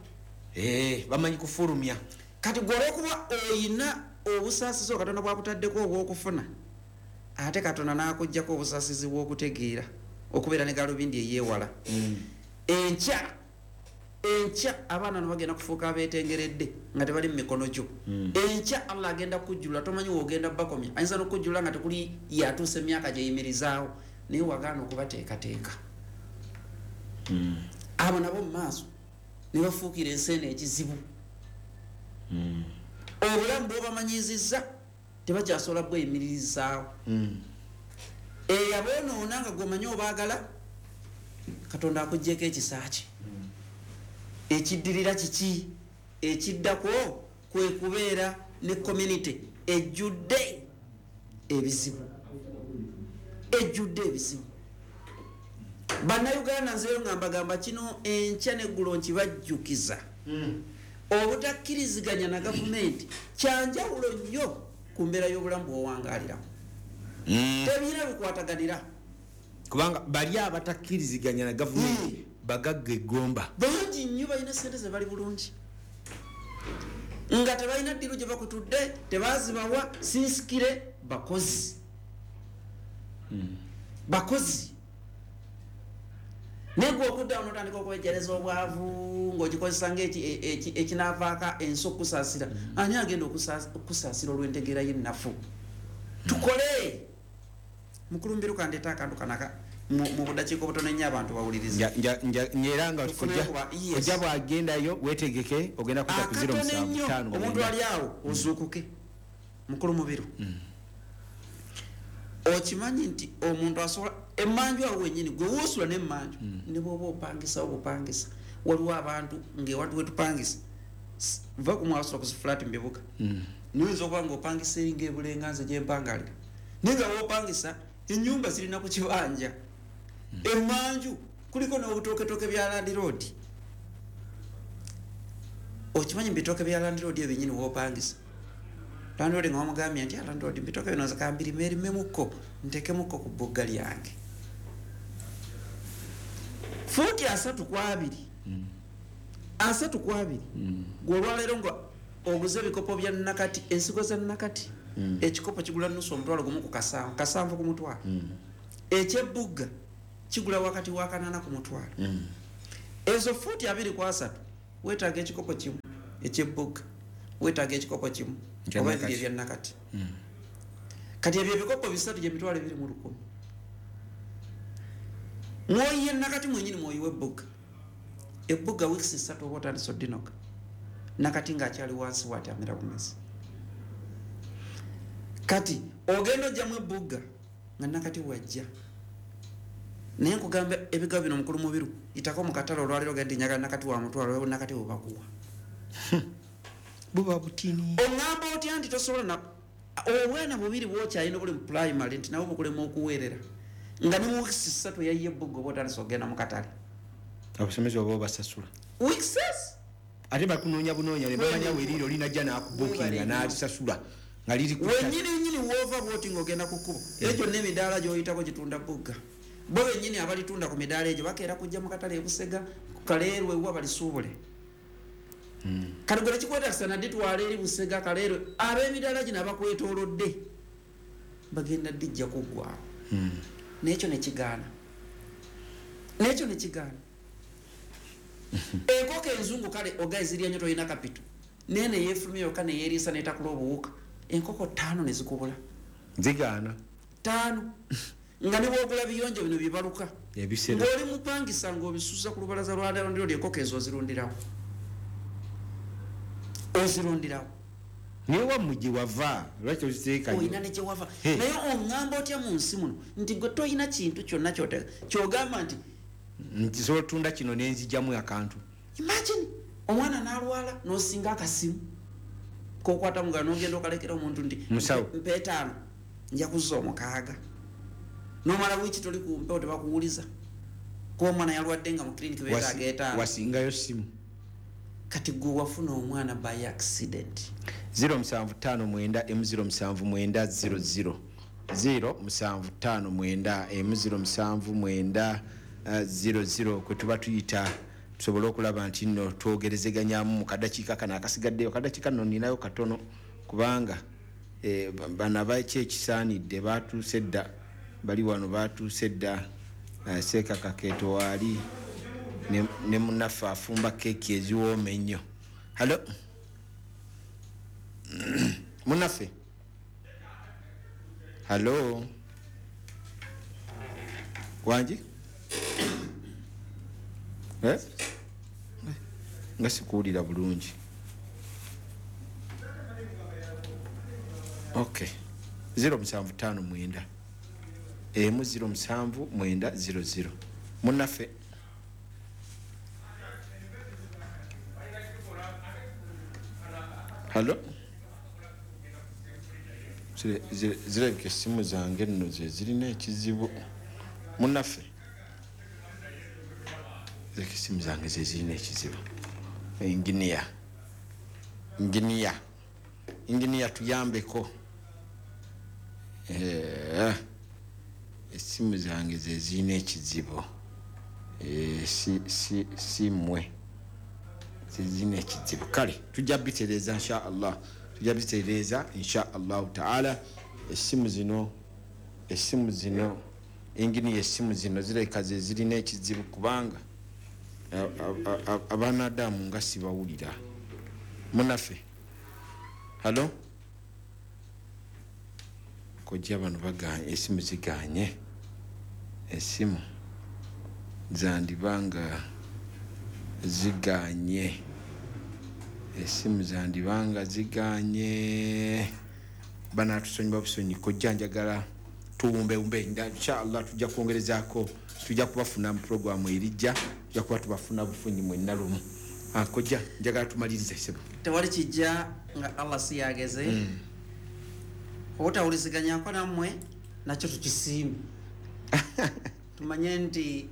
Eh, bamanyi kufulumya. Kati gwe olwokuba oyina obusaasizi Katonda bwakutaddeko obw'okufuna, ate Katonda n'akuggyako obusaasizi bw'okutegeera okubeera ne galubindi eyeewala, enkya enkya abaana no bagenda kufuuka abeetengeredde nga tebali mu mikono gyo. Enkya Allah agenda kukujjulula, tomanyi woogenda bakomya. Ayinza n'okukujjulula nga tekuli yatuusa emyaka gyeyimirizaawo, naye wagaana okubateekateeka. Abo nabo mu maaso ne bafuukira ensi eno ekizibu. Obulamu bwobamanyizizza tebakyasobola bweyimiririzaawo. Eyaboonoona nga gwomanyi obaagala, Katonda akugyeko ekisa kye. Ekiddirira kiki? Ekiddako kwe kubeera ne community ejjudde ebizibu, ejjudde ebizibu. Bannayuganda, nzeyo nga mbagamba kino enkya neggulo nkibajjukiza, obutakkiriziganya na gavumenti kyanjawulo nnyo ku mbeera y'obulamu bw'owangaaliramu. Tebirina bikwataganira. Kubanga bali abatakkiriziganya na gavumenti bagagga eggomba. Bangi nnyo, balina sente ze, bali bulungi nga tebalina ddiru gye bakutudde, tebazibawa sinsikire. Bakozi, bakozi. Naye gwe okuddawo notandika okwejjereza obwavu ng'ogikozesa ngaekinavaako ensi okusaasira. Ani agenda okusaasira olw'entegeera y'ennafu? Tukole. Mukulumbiru, kandeeta akantu kanaka mu budakiika obutono ennyo abantu bawuliriza. Era nga Tufuneyo yes. Ojja bwagendayo wetegeke, ogenda kudda ku Akatono ennyo. 07 Omuntu 9. ali awo ozuukuke. Mukulu Mubiru, okimanyi nti omuntu asobola emmanju awo wenyini gwe woosula nemmanju, ne bwoba opangisawo bupangisa, waliwo abantu ngaewatu wetupangisa va kumwasula ku zifulati mu bibuga, noyinza okuba nga opangisa eringa ebulenganze gyempangalira, naye nga wopangisa enyumba zirina ku kibanja, emmanju kuliko n'obutoketoke bya landlord. Okimanyi mu bitooke bya landlord ebyenyini wopangisa, landlord nga wamugambye nti, "Ah, landlord, mbitooke bino nze kambirime erimemukko ntekemukko ku bbugga lyange," fuuti 30 ku 20, 30 ku 20. Gwe olwaleero nga oguze ebikopo bya nakati, ensigo za nakati, ekikopo kigula nusu omutwalo gumu ku kasanvu, kasanvu ku mutwalo. Ekyebugga kigula wakati wa 8 ku mutwalo. Ezo fuuti 20 ku 30 Weetaaga ekikopo kimu ekyebbuga, weetaaga ekikopo kimu oba ebiri ebyannakati. Kati ebyo ebikopo bisatu gye 2,100. Mwoyiye nakati mwenyini mwoyiwe ebbuga. Ebbuga wiiki 3 oba otandise odinoga, nakati ng'akyali wansi bw'ati amera bumezi. Kati ogenda ojjamu ebbuga nga nakati wajja. Naye nkugamba ebigabo bino mukulu Mubiru, itako mu katale olwaleero ogende njagala nakati wa mutwalo, nakati bwe bakuwa. Buba butini. Oŋŋamba otya nti tosobola na obwana bubiri bwokyalina obuli mu primary nti nabo bukulema okuweerera nga ne mu wiiki 3 yayiye ebbuga oba otandise ogenda mu katale. Abasomesa oba obasasula Weeks ate bakunoonya bunoonya ne bamanya weeriro linajja n'akubuukinga n'alisasula nga liri ku wenyini nyini wova bwoti ng'ogenda ku kkubo era gyonna emidaala gy'oyitako gitunda bugga. Bo bennyini abalitunda ku midaala egyo bakeera kujja mu katale ebusega ku Kaleerwe wa balisuubule. Kati gwe tekikwetaagisa na dditwala eri Busega, Kaleerwe, ab'emidaala gino abakwetoolodde bagenda ddijja kuggwawo. N'ekyo ne kigaana, n'ekyo ne kigaana. Enkoko enzungu kale ogaye zirya nnyo, tolina kapito, naye ne yeefulumya yokka ne yeeriisa n'etakula obuwuka, enkoko 5 ne zikubula. Zigaana. 5 nga ne bw'ogula biyonjo bino bibaluka ebisero ng'oli mupangisa ng'obisuza ku lubalaza lwa landlord, enkoko ezo ozirundirawo, ozirundirawo. Naye wammwe gye wava lwaki oziteekayo? Olina ne gye wava, naye oŋŋamba otya mu nsi muno nti gwe toyina kintu kyonna kyogamba nti nsobola otunda kino nenzijjamu akantu? Imagine omwana n'alwala n'osinga akasimu kokwata mugalo n'ogenda okalekera omuntu nti Musawo. Mpa 5 nja kuzza 6, n'omala wiiki toli ku mpewo tebakuwuliza kuba omwana yalwadde nga mu kiriniki beetaaga 5. Wasingayo simu. Kati gwe wafuna omwana by accident. 0759 M079 00 0759 M079 00 kwe tuba tuyita tusobole okulaba nti nno twogerezeganyamu mu kadakiika kano akasigaddeyo. Kadakiika nno ninayo katono kubanga bano abaki ekisaanidde batuuse dda, bali wano batuuse dda. Seeka Kakeeto waali ne munnaffe afumba keeki eziwooma ennyo. Halo munnaffe, halo wangi nga sikuwulira bulungi. Ok, 0759 M079 00 munnaffe. Halo, zirabika essimu zange nno ze zirina ekizibu. Munnaffe, zirabika essimu zange ze zirina ekizibu. Inginiya, inginiya, inginiya tuyambeko. Essimu zange ze zirina ekizibu. Si mmwe ze zirina ekizibu. Kale tujja bitereeza insha Allah, tujja bitereeza insha Allahu taala. Essimu zino, essimu zino, inginiya, essimu zino zirabika ze zirina ekizibu kubanga abanadamu nga sibawulira. Munnaffe, halo kojja, bano baganye, essimu ziganye, essimu zandibanga ziganye, essimu zandibanga ziganye. Banatusonyiwa busonyi. Kojja njagala tuwumbewumbe inshallah, tujja kwongerezaako, tujja kubafuna mu programu erijja, tujja kuba tubafuna bufunyi mwenna lumu. Kojja njagala tumalirize ssebo. Tewali kijja nga Allah si yageze. Obutawuliziganyako nammwe nakyo tukisiime. Tumanye nti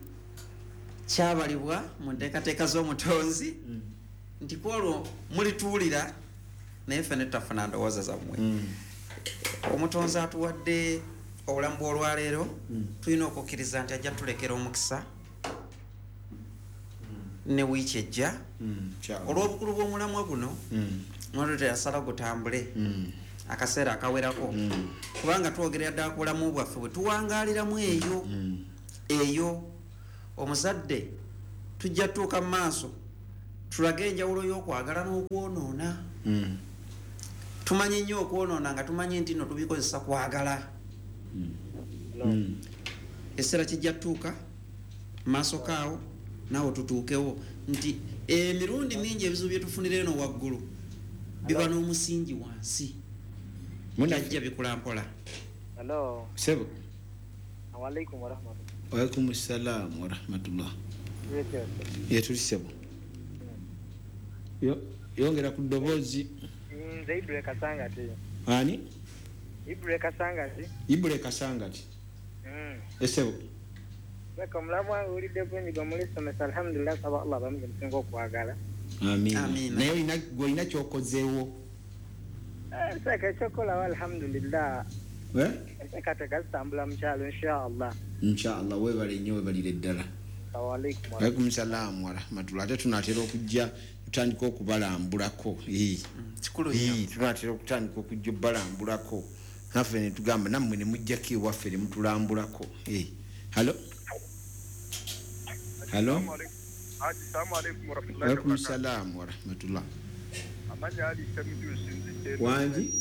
kyabalibwa mu nteekateeka z'omutonzi nti kwolwo mulituwulira naye ffe ne tutafuna ndowooza zammwe. Omutonzi atuwadde obulamu bw'olwaleero, tulina okukkiriza nti ajja tulekera omukisa ne wiiki ejja. Olw'obukulu bw'omulamwa guno mwattu teyasala gutambule akaseera akawerako, kubanga twogerera ddala ku bulamu bwaffe bwe tuwangaaliramu eyo eyo. Omuzadde tujja tuuka mu maaso Tulage enjawulo y'okwagala n'okwonoona. Tumanyi nnyo okwonoona nga tumanyi nti nno tubikozesa kwagala. Essera kijja tutuuka maaso kaawo naawe tutuukewo nti emirundi mingi ebizibu bye tufunira eno waggulu biba n'omusingi wansi, bijja bikula mpola. Hello. Sebo. Alaikum warahmatullah. Wa alaikum salam wa rahmatullah. Ye tuli sebo. Yongera ku ddoboozi. Nze Ibule Kasangati. Ani? Ibule Kasangati. Ibule Kasangati. Esebo. Weka mulamu wange ulidde kwenyiga mulisomesa, alhamdulillah, saba Allah bamuze musinga okwagala. Amiina. Naye gwe olina ky'okozeewo? Seka ekyokolawo alhamdulillah. Enteekateeka zitambula mu kyalo inshallah. Inshallah, weebale nnyo, weebalire ddala. Assalamu alaikum salaam wa rahmatullah. Ate tunaatera okujja tutandika okubalambulako. Kikulu nnyo. Tunaatera okutandika okujja obalambulako. Naffe ne tugamba nammwe ne mujjako ewaffe ne mutulambulako. Hello? Hello? Assalamu alaikum wa rahmatullahi wa Alaikum barakatuh. salam wa rahmatullah. Amanya ali Ssemujju nsinzidde eno. Wangi?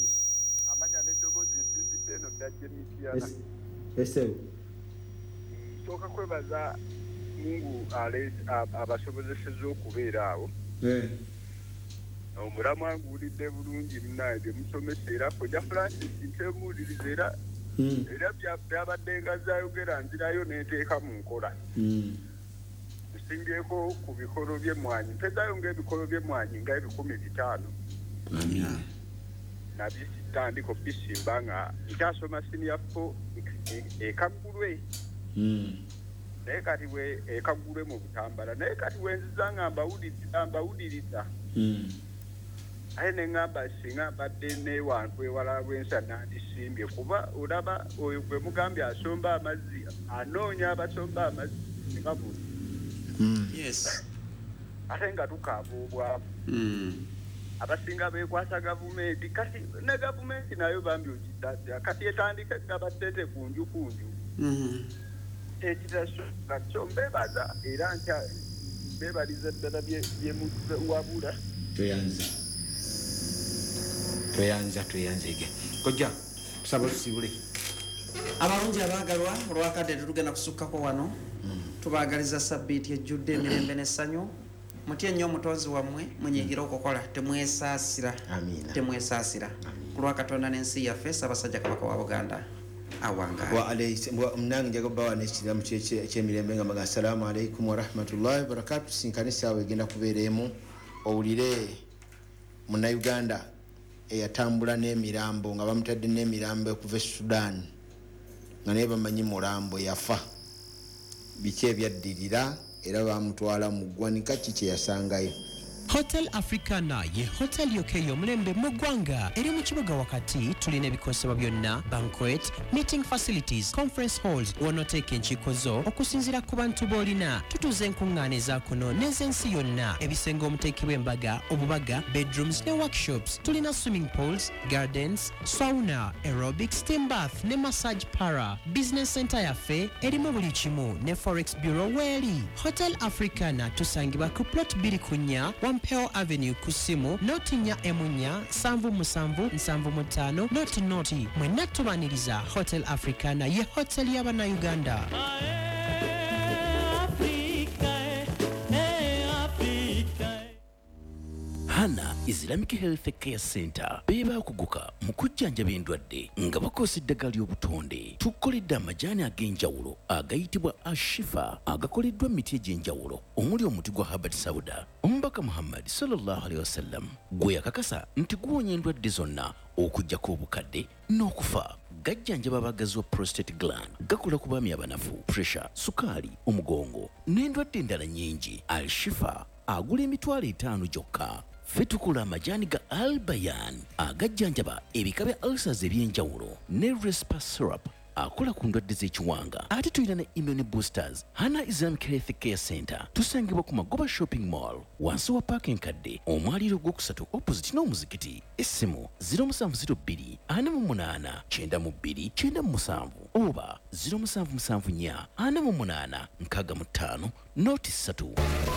Amanya n'eddoboozi nsinzidde eno ddajja emityana. Esebo. Nsooka kwebaza Mungu abasobozesezza okubeera awo. Omulamu anguwulidde bulungi munange bye musomesa era Kojja Francis ntemuwuliriza era era byabadde nga zayogera nzirayo n'enteeka mu nkola. Nsingyeko ku bikolo by'emmwanyi, mpezayo ng'ebikolo by'emmwanyi nga 5,000. Amiina. Nabitandika okubisimba nga nkyasoma senior 4 e Kaggulwe. Naye kati bwe e Kaggulwe mu Butambala, naye kati bwe nziza nga mbawuliriza. Aye ne ŋŋamba singa mbadde n'ewantu ewala lw'ensa nandisimbye, kuba olaba oyo gwe mugambye asomba amazzi, anoonya abasomba amazzi nga buli. Yes. Ate nga tukaaba obwavu. Abasinga beekwasa gavumenti, kati ne gavumenti nayo bambi ogitadde, kati etandika egaba ssente kunju kunju. Ekitasoboka kyo mbeebaza era nkya mbeebaliza ddala bye muwabula. Tweyanza. Tweyanza, tweyanzege. Kojja, tusaba tusibule. Abalungi abaagalwa, olwakadde tetugenda kusukkako wano. Tubaagaliza sabbiiti ejjudde emirembe n'essanyu. Mutye nnyo omutonzi wammwe, munyiigire okukola, temwesaasira. Amiina. Temwesaasira. Ku lwa Katonda n'ensi yaffe, Ssaabasajja Kabaka wa Buganda awangaale. Wa alayhi nange njaga bawa n'ekiramu ky'emirembe nga mbaga assalamu alaikum wa rahmatullahi wa barakatuh. Tusinkane essaawa egenda kubeera emu, owulire Munnayuganda eyatambula n'emirambo nga bamutadde n'emirambo okuva e Sudan nga naye bamanyi mulambo yafa, biki ebyaddirira era bamutwala mu ggwanika, ki kye yasangayo. Hotel Africana ye hotel yokka ey'omulembe mu ggwanga eri mu kibuga wakati. Tulina ebikozesebwa byonna, banquet, meeting facilities, conference halls w'onooteeka enkiiko zo okusinziira ku bantu b'olina. Tutuuza enkuŋŋaana eza kuno n'ez'ensi yonna, ebisenge omuteekebwa embaga, obubaga, bedrooms ne workshops. Tulina swimming pools, gardens, sauna, aerobic, steam bath ne massage parlour. Business center yaffe erimu buli kimu ne forex bureau weeri. Hotel Africana tusangibwa ku plot 2 4 Wampeo Avenue ku ssimu 04 4 77 75 00. Mwenna tubaniriza. Hotel Africana ye hotel y'Abannayuganda. Hana Islamic Health Care Center beebaakuguka mu kujjanjaba endwadde nga bakozesa eddagala ly'obutonde. Tukoledde amajaani ag'enjawulo agayitibwa Ashifa agakoleddwa mu miti egy'enjawulo omuli omuti gwa Habert Sauda, Omubaka Muhammad sallallahu alaihi wasallam gwe yakakasa nti guwonya endwadde zonna okuggyako obukadde n'okufa. Gajjanjaba abagazi wa prostate gland, gakola ku baami abanafu, pressure, sukaali, omugongo n'endwadde endala nnyingi. Al-Shifa agula 5,000 gyokka. Ffe tukola amajaani ga Albayan agajjanjaba ebika bya ulcers eby'enjawulo ne Respa syrup akola ku ndwadde z'ekiwanga. Ate tulina ne immune boosters. Hana Islamic Health Care Center tusangibwa ku Magoba Shopping Mall wansi wa paaka enkadde, omwaliiro ogwokusatu opposite n'omuzikiti. Essimu 0702 48 92 97. Oba 0774 48 65 03.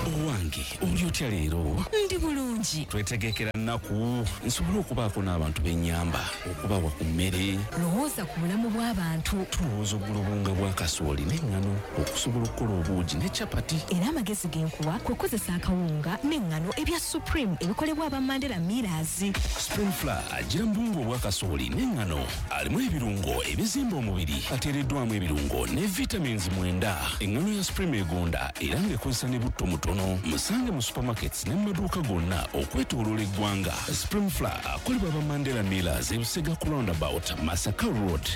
Owange oli otya leero? Ndi bulungi. Twetegekera nnaku nsobole okubaako n'abantu b'ennyamba, okubawa ku mmere. Lowooza ku bulamu bw'abantu. Tulowooza okugula obuwunga bwa kasooli n'eŋŋano okusobola okukola obuugi ne capati. Era amagezi ge nkuwa kwe kukozesa akawunga n'eŋŋano ebya Supreme ebikolebwa aba Mandela Millers. Supreme Flour agira mu buwunga obwa kasooli n'eŋŋano, alimu ebirungo ebizimba omubiri, ateereddwamu ebirungo ne vitamins 9. Eŋŋano ya Supreme egonda era ng'ekozesa ne butto mutono. Musange mu supermarkets ne mu maduuka gonna okwetooloola eggwanga. Supreme Flour akolebwa aba Mandela Millers e Busega ku roundabout Masaka Road.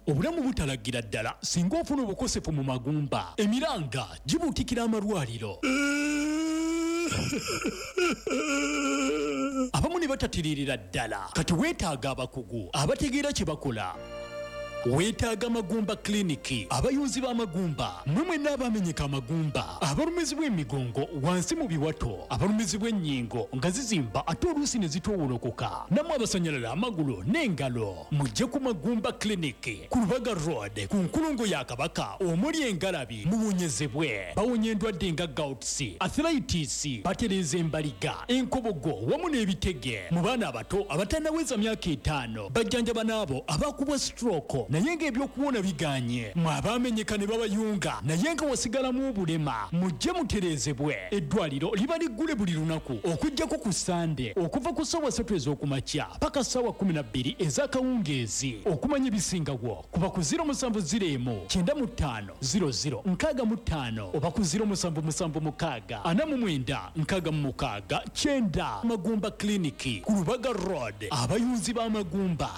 Obulamu butalagira ddala singa ofuna obukosefu mu magumba. Emiranga gibuutikira amalwaliro. Abamu ne batatiririra ddala. Kati weetaaga abakugu abategeera kye bakola. Weetaaga Magumba Clinic, abayunzi b'amagumba, mmwe mwenna abamenyeka amagumba, abalumizibwa emigongo wansi mu biwato, abalumizibwa ennyingo nga zizimba ate oluusi ne zitoowolokoka, nammwe abasanyalala amagulu n'engalo, mujje ku Magumba Clinic ku Lubaga Road ku nkulungo ya Kabaka omuli engalabi, muwonyezebwe. Bawonya endwadde nga gouts, arthritis, batereeza embaliga, enkobogo wamu n'ebitege. Mu baana abato abatannaweza myaka 5, bajjanjaba n'abo abakubwa stroke naye ng'ebyokuwona biganye. Mwe abaamenyeka ne babayunga naye nga wasigalamu obulema, mujje mutereezebwe. Eddwaliro liba liggule buli lunaku okuggyako ku Sande okuva ku ssaawa 3 ez'okumakya paka ssaawa 12 ez'akawungeezi. Okumanya ebisingawo kuba ku 0701 95 00 65 oba ku 0776 49 66 9. Magumba Clinic ku Lubaga Road, abayunzi b'amagumba.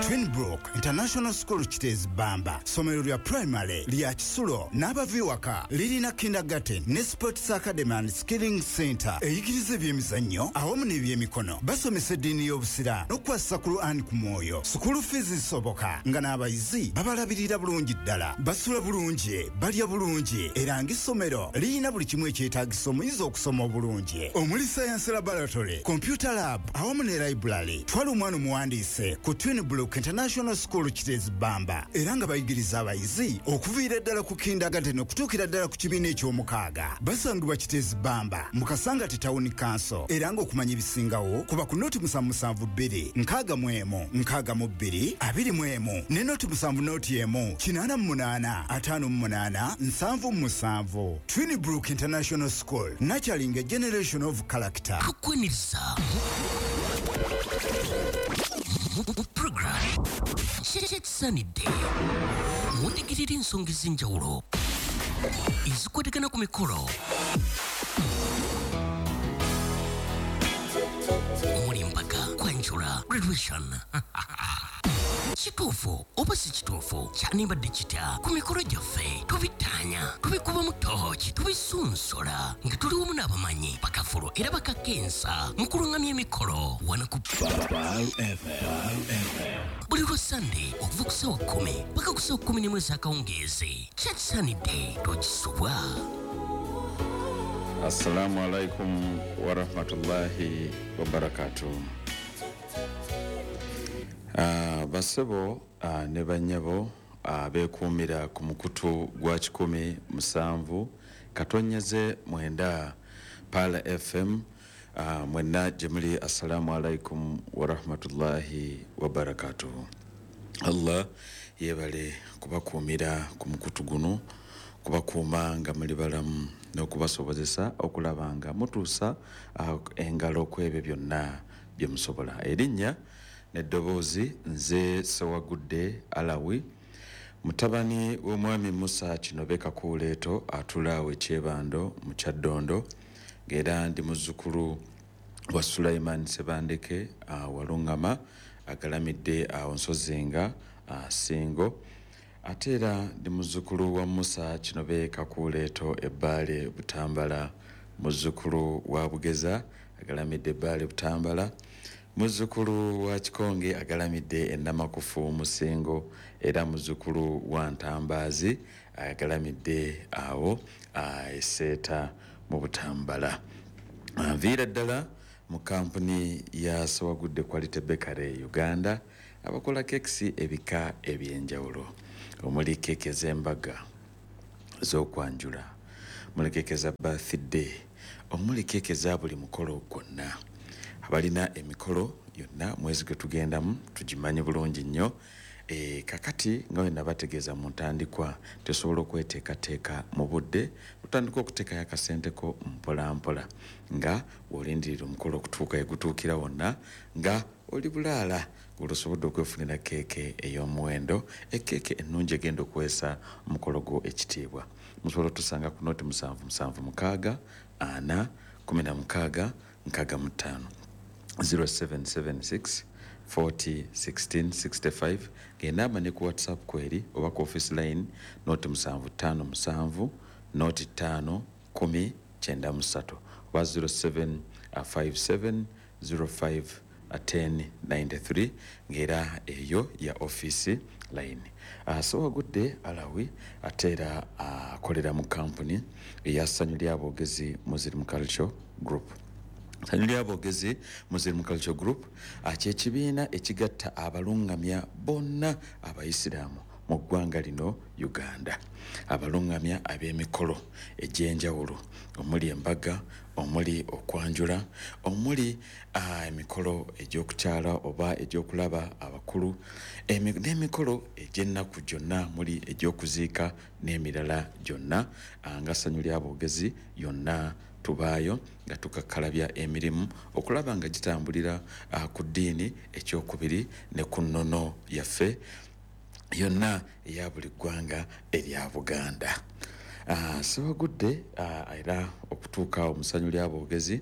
Twinbrook International School Kitezi Bamba, ssomero lya primary lya kisulo n'abava ewaka, lirina kindergarten ne sports academy and skilling center eyigiriza ebyemizannyo awamu n'ebyemikono. Basomesa eddiini y'obusiraamu n'okukwasisa Quran ku mwoyo. Sukulu fees zisoboka nga n'abayizi babalabirira bulungi ddala, basula bulungi, balya bulungi, era ng'essomero lirina buli kimu ekyetaagisa omuyizi okusoma obulungi, omuli science laboratory, computer lab awamu ne library. Twala omwana omuwandiise ku Twinbrook International School Kitezi Bamba, era nga bayigiriza abayizi okuviira ddala ku kindergarten okutuukira ddala ku kibiina eky'omukaaga. Basangibwa Kitezi Bamba mu Kasangati Town Council, era ng'okumanya ebisingawo kuba ku noti 772 61 62 21 ne noti 7 noti 1 88 58 77. Twinbrook International School, nurturing a generation of character. Tukwaniriza program Kyekisaanidde mutegerera ensonga ez'enjawulo ezikwatagana ku mikolo omuli empaka, kwanjula, graduation. Kituufu oba si kituufu, kyanibadde kitya ku mikolo gyaffe? Tubitaanya, tubikubamu tooki, tubisunsola nga tuli wamu n'abamanyi bakafulu era bakakensa mu kulungamya emikolo wano ku buli lwa Sande okuva ku ssaawa 10 paka ku ssaawa 11 ez'akawungeezi. Kyekisaanidde togisubwa. Assalamu alaikum warahmatullahi wabarakatuh. Basebo ne bannyabo beekuumira ku mukutu gwa 107.9 Pala FM, mwenna gye muli, assalamu alaikum warahmatullahi wabarakatuh. Allah yeebale kubakuumira ku mukutu guno, kubakuuma nga muli balamu n'okubasobozesa okulaba nga mutuusa engalo ku ebyo byonna bye musobola. Erinnya n'eddoboozi nze Sewagudde Alawi, mutabani w'omwami Musa Kinobe Kakuuleeto atula awo e Kyebando mu Kyaddondo, ng'era ndi muzzukulu wa Sulaiman Sebandeke Walungama agalamidde awo Nsozinga Singo. Ate era ndi muzzukulu wa Musa Kinobe Kakuuleeto Ebbaale Butambala, muzzukulu wa Bugeza agalamidde Ebbaale Butambala, muzzukulu wa Kikonge agalamidde Ennamakufu Musingo, era muzzukulu wa Ntambaazi agalamidde awo Eseeta mu Butambala. Nviira ddala mu kampuni ya Sewagudde Quality Bakery Uganda, abakola kekisi ebika ebyenjawulo, omuli keeke z'embaga z'okwanjula, omuli keeke za birthday, omuli keeke za buli mukolo gwonna. Abalina emikolo yonna mwezi gwe tugendamu tugimanyi bulungi nnyo. Kakati nga we nabategeeza mu ntandikwa, tosobola okweteekateeka mu budde, otandika okuteekayo akasenteko mpola mpola nga bw'olindirira omukolo okutuuka egutuukira wonna nga oli bulaala, ng'olosobodde okwefunira keeke ey'omuwendo, ekeeke ennungi egenda okuweesa omukolo gwo ekitiibwa. Musobola otusanga ku noti 776 4 16 65, 0776 40 16 65, ng'enamba ne ku WhatsApp kweri, oba ku office line noti 757 noti 5 10 93, oba 0757 05 10 93, ng'era eyo ya office line. Sewagudde Alawi ate era akolera mu kampuni eya Ssanyu Ly'Aboogezi Muslim Culture Group. Ssanyu Ly'Aboogezi Muslim Culture Group kyekibiina ekigatta abalungamya bonna abayisiraamu mu ggwanga lino Uganda, abalungamya ab'emikolo egy'enjawulo omuli embaga, omuli okwanjula, omuli emikolo egy'okukyala oba egy'okulaba abakulu, n'emikolo egy'ennaku gyonna, muli egy'okuziika n'emirala gyonna. Nga Ssanyu Ly'Aboogezi yonna tubaayo nga tukakkalabya emirimu okulaba nga gitambulira ku ddiini ekyokubiri ne ku nnono yaffe yonna eya buli ggwanga erya Buganda. Sewagudde era okutuuka awo mu Ssanyu Ly'Aboogezi,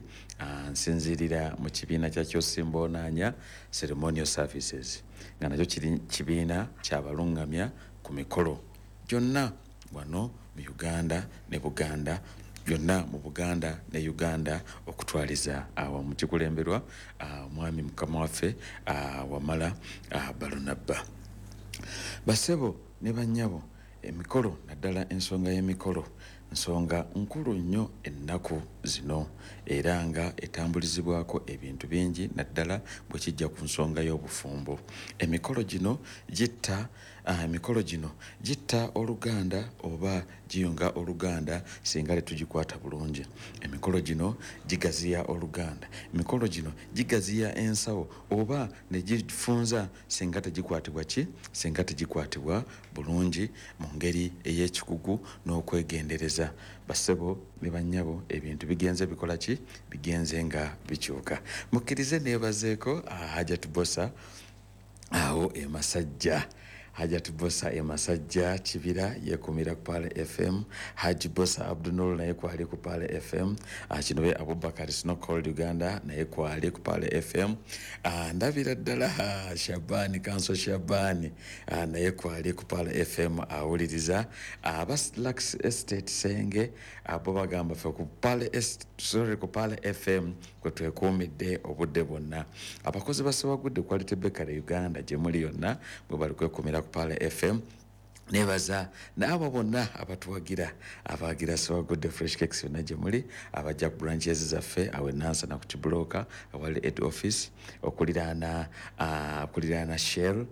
nsinziirira mu kibiina kya Kyosimba Ceremonial Services, nga nakyo kiri kibiina kyabalungamya ku mikolo gyonna wano mu Uganda ne Buganda, byonna mu Buganda ne Uganda okutwaliza awamu, kikulemberwa omwami mukama waffe Wamala Balunabba. Basebo ne bannyabo, emikolo naddala ensonga y'emikolo nsonga nkulu nnyo ennaku zino, era nga etambulizibwako ebintu bingi naddala bwe kijja ku nsonga y'obufumbo. Emikolo gino gitta oluganda oba giyunga oluganda singa tetugikwata bulungi. Emikolo gino gigaziya oluganda, emikolo gino gigaziya ensawo oba ne gifunza singa tegikwatibwa singa tegikwatibwa bulungi mu ngeri ey'ekikugu n'okwegendereza. Basebo ne bannyabo, ebintu bigenze bikola ki? Bigenze nga bikyuka. Mukkirize neebazeeko Hajat Bosa awo e Masajja. Hajat Bosa e Masajja Kibira yekumira ku Pale FM. Haji Bosa Abdunul naye kwali ku Pale FM. Kinobe Abubakar Snowcalled Uganda naye kwali ku Pale FM. Ndabira ddala Shabani Kanso Shabani naye kwali ku Pale FM awuliriza. Abaslax Estate Senge abo bagamba ffe ku Pale ku Pale FM kwe twekuumidde obudde bwonna. Abakozi ba Sewagudde Quality Bakery Uganda gye muli yonna bwe bali kwekumira ku Pale FM. Nebaza n'abo bonna abatuwagira, abawagira Sewagudde Fresh Cakes yonna gye muli, abajja ku branches zaffe awo e Nansana ku Kibulooka awali head office, okuliraana Shell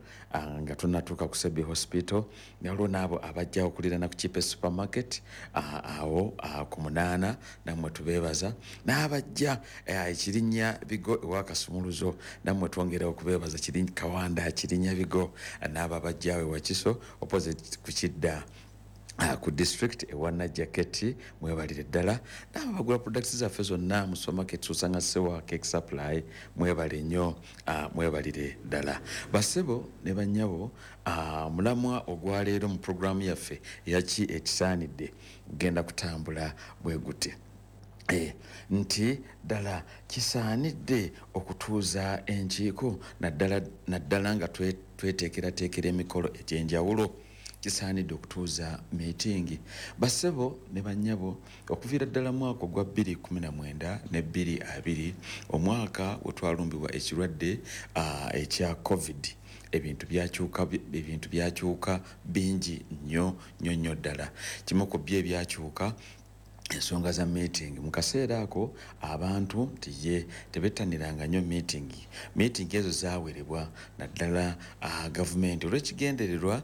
nga tunnatuuka ku Sebi Hospital, waliwo n'abo abajja okuliraana ku Chipe Supermarket awo ku 8, nammwe tubeebaza, n'abajja Ekirinnya Bigo ewa Kasumuluzo, nammwe twongera okubeebaza, Kawanda Kirinnya Bigo, n'abo abajja awo ewa Kiso opposite ku Kidda ku district ewa Najjaketi, mwebalire ddala. N'abo abagula products zaffe zonna mu supermarket osanga Sewa Cake Supply, mwebale nnyo, mwebalire ddala. Basebo ne bannyabo, mulamwa ogwaleero mu programu yaffe eyaki ekisaanidde genda kutambula bwe guti. Nti ddala kisaanidde okutuuza enkiiko naddala nga tweteekerateekera emikolo egy'enjawulo. Kisaanidde okutuuza meeting. Basebo ne bannyabo, okuviira ddala mwaka ogwa 2019 ne 2020, omwaka we twalumbibwa ekirwadde ekya COVID, ebintu byakyuka bingi nnyo nnyo nnyo ddala. Kimu ku byo ebyakyuka ensonga za meeting. Mu kaseera ako abantu nti ye tebettaniranga nnyo meeting. Meeting ezo zaawerebwa naddala gavumenti olw'ekigendererwa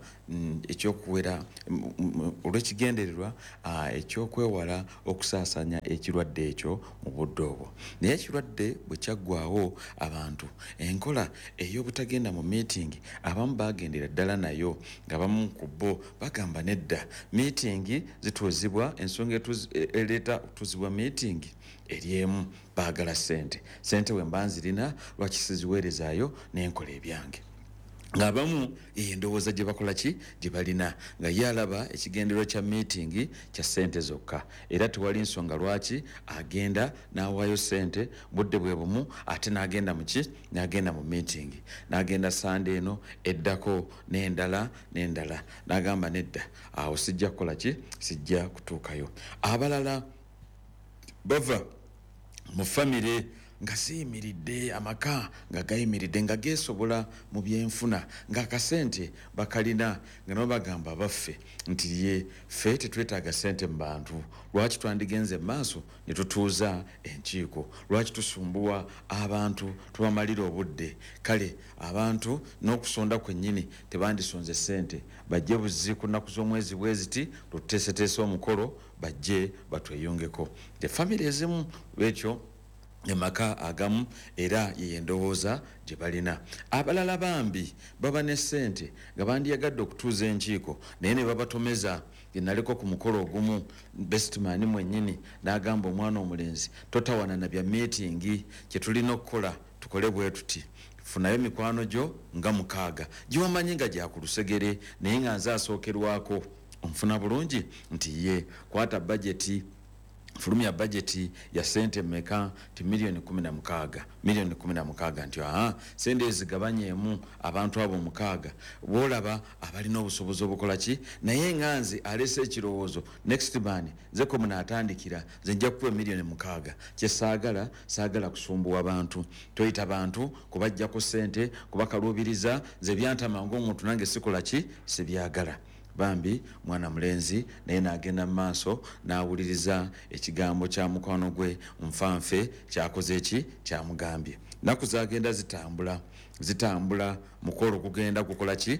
ekyokuwera olw'ekigendererwa ekyokwewala okusaasaanya ekirwadde ekyo mu budde obwo. Naye ekirwadde bwe kyaggwawo, abantu enkola ey'obutagenda mu meeting abamu bagendera ddala nayo, nga bamu ku bo bagamba nedda, meeting zituuzibwa, ensonga ereeta okutuuzibwa meeting eri emu, baagala ssente. Ssente bwe mba nzirina lwaki siziweerezaayo n'enkola ebyange? Ng'abamu endowooza gye bakola ki gye balina, nga ye alaba ekigendererwa kya meeting kya ssente zokka, era tewali nsonga lwaki agenda n'awaayo ssente budde bwe bumu ate n'agenda mu ki, n'agenda mu meeting, n'agenda Sande eno eddako n'endala n'endala, n'agamba nedda, awo sijja kukola ki, sijja kutuukayo. Abalala bava mu famire nga ziyimiridde, amaka nga gayimiridde, nga geesobola mu byenfuna, ng'akasente bakalina, nga nabo bagamba baffe nti ye ffe tetwetaaga ssente mu bantu, lwaki twandigenze mu maaso ne tutuuza enkiiko, lwaki tusumbuwa abantu tubamalira obudde? Kale abantu n'okusonda kwennyini tebandisonze ssente, bajje buzzi ku nnaku z'omwezi bwe ziti tuteeseteese omukolo, bajje batweyungeko. Famire ezimu ekyo emaka agamu era ye endowooza gye balina. Abalala bambi baba ne ssente nga bandiyagadde okutuuza enkiiko, naye ne babatomeza. Naliko ku mukolo ogumu, bestman mwennyini n'agamba omwana omulenzi, totawana na bya meeting, kye tulina okukola tukole bwe tuti, funayo mikwano gyo nga 6 giwamanyi nga gya ku lusegere, naye nga nze asookerwako, onfuna bulungi nti ye kwata bajeti, fulumya bajeti ya sente mmeka, ti miliyoni 16, miliyoni 16, nti aha, sente ezigabanyemu abantu abo 6 bw'olaba abalina obusobozi obukola ki. Naye nga nze alese ekirowoozo, next man nze ko munaatandikira, nze nja kukuwa miliyoni 6, kye saagala, saagala kusumbuwa bantu, toyita bantu kubajjako sente, kubakaluubiriza, nze byantama ng'omuntu nange sikola ki, sibyagala. Bambi mwana mulenzi naye n'agenda mu maaso n'awuliriza ekigambo kya mukwano gwe nfanfe kyakoze ki, kyamugambye. Nnaku zagenda zitambula zitambula, mukolo gugenda gukola ki,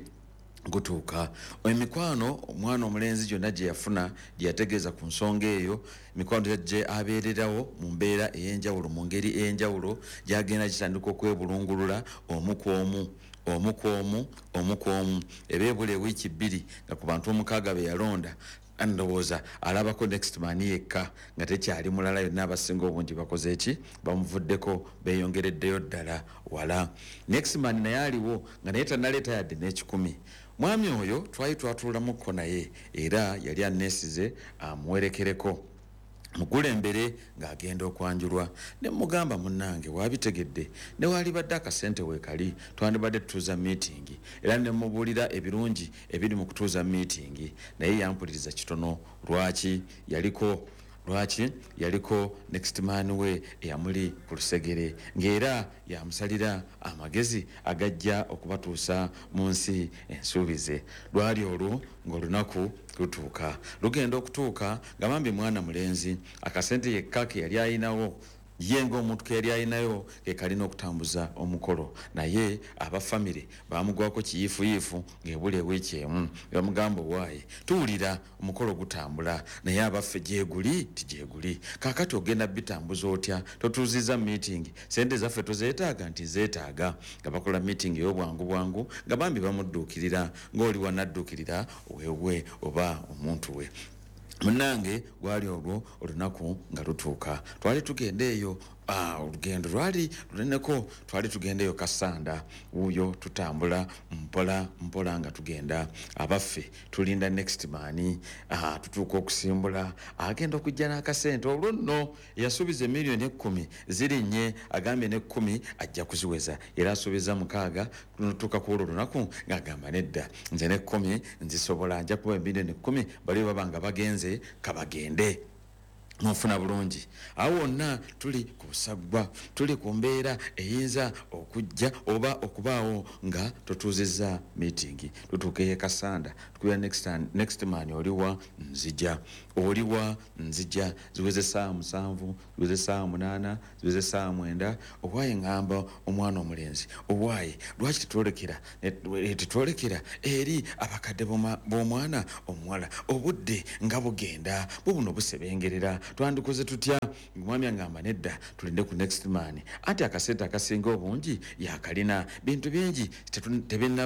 gutuuka. Emikwano omwana omulenzi gyonna gye yafuna, gye yategeeza ku nsonga eyo, emikwano gye abeererawo mu mbeera ey'enjawulo, mu ngeri ey'enjawulo, gyagenda gitandika okwebulungulula omu ku omu, omu ku omu, omu ku omu. Eba ebula ewiiki 2 nga ku bantu 6 be yalonda, ndowooza alabako next man yekka nga tekyali mulala, yonna abasinga obungi bakoze ki, bamuvuddeko, beeyongereddeyo ddala wala. Next man naye aliwo nga naye tannaleeta yadde n'ekikumi. Mwami oyo twali twatuulamukko naye, era yali anneesize amuwerekereko mukulembere ng'agenda okwanjulwa. Ne mugamba munnange waabitegedde, ne waalibadde akasente weekali twandibadde tutuuza meeting, era ne mubuulira ebirungi ebiri mu kutuuza meeting, naye yampuliriza kitono. Lwaki yaliko, lwaki yaliko next man we eyamuli ku lusegere, ng'era yamusalira amagezi agajja okubatuusa mu nsi ensuubize. Lwali olwo ng'olunaku lutuuka, lugenda okutuuka nga bambi mwana mulenzi akasente yekka ke yali ayinawo, ye ng'omuntu ke yali ayinayo ke kalina okutambuza omukolo, naye abafamire bamugwako kiyiifuyiifu ng'ebula ewiiki emu, ne bamugamba owaaye tuwulira omukolo gutambula, naye abaffe gyeguli tigyeguli, kaakati ogenda bitambuza otya, totuuziza meeting, sente zaffe tozeetaaga, nti zeetaaga. Nga bakola meeting ey'obwangu bwangu, nga bambi bamudduukirira ng'oli wanadduukirira wewe oba omuntu we. Munnange gwali olwo olunaku nga lutuuka, twali tugenda eyo, olugendo lwali luneneko, twali tugenda eyo Kasanda, wuuyo tutambula mpola mpola nga tugenda, abaffe tulinda next man, tutuuka okusimbula, agenda okujja n'akasente. Olwo nno yasuubiza emiliyoni 10 zirinnye, agambye ne 10 ajja kuziweza, era asuubiza 6. Tutuuka ku olwo olunaku ng'agamba nedda, nze ne 10 nzisobola, nja kuba emiliyoni 10, bali baba nga bagenze kabagende. Nfuna bulungi. Awo wonna tuli ku busaggwa, tuli ku mbeera eyinza okujja oba okubaawo nga totuuzizza meeting. Tutuuka e Kasanda, tukubira next man, oliwa nzija, oliwa nzija. Ziweze 7:00, ziweze 8:00, ziweze 9:00. Owaaye ŋŋamba omwana omulenzi, owaaye lwaki tetwolekera eri abakadde b'omwana omuwala? Obudde nga bugenda bubuno busebengerera, twandikoze tutya? Omwami angamba nedda, tulinde ku next man, anti akasente akasinga obungi yakalina, bintu bingi tebinnaba.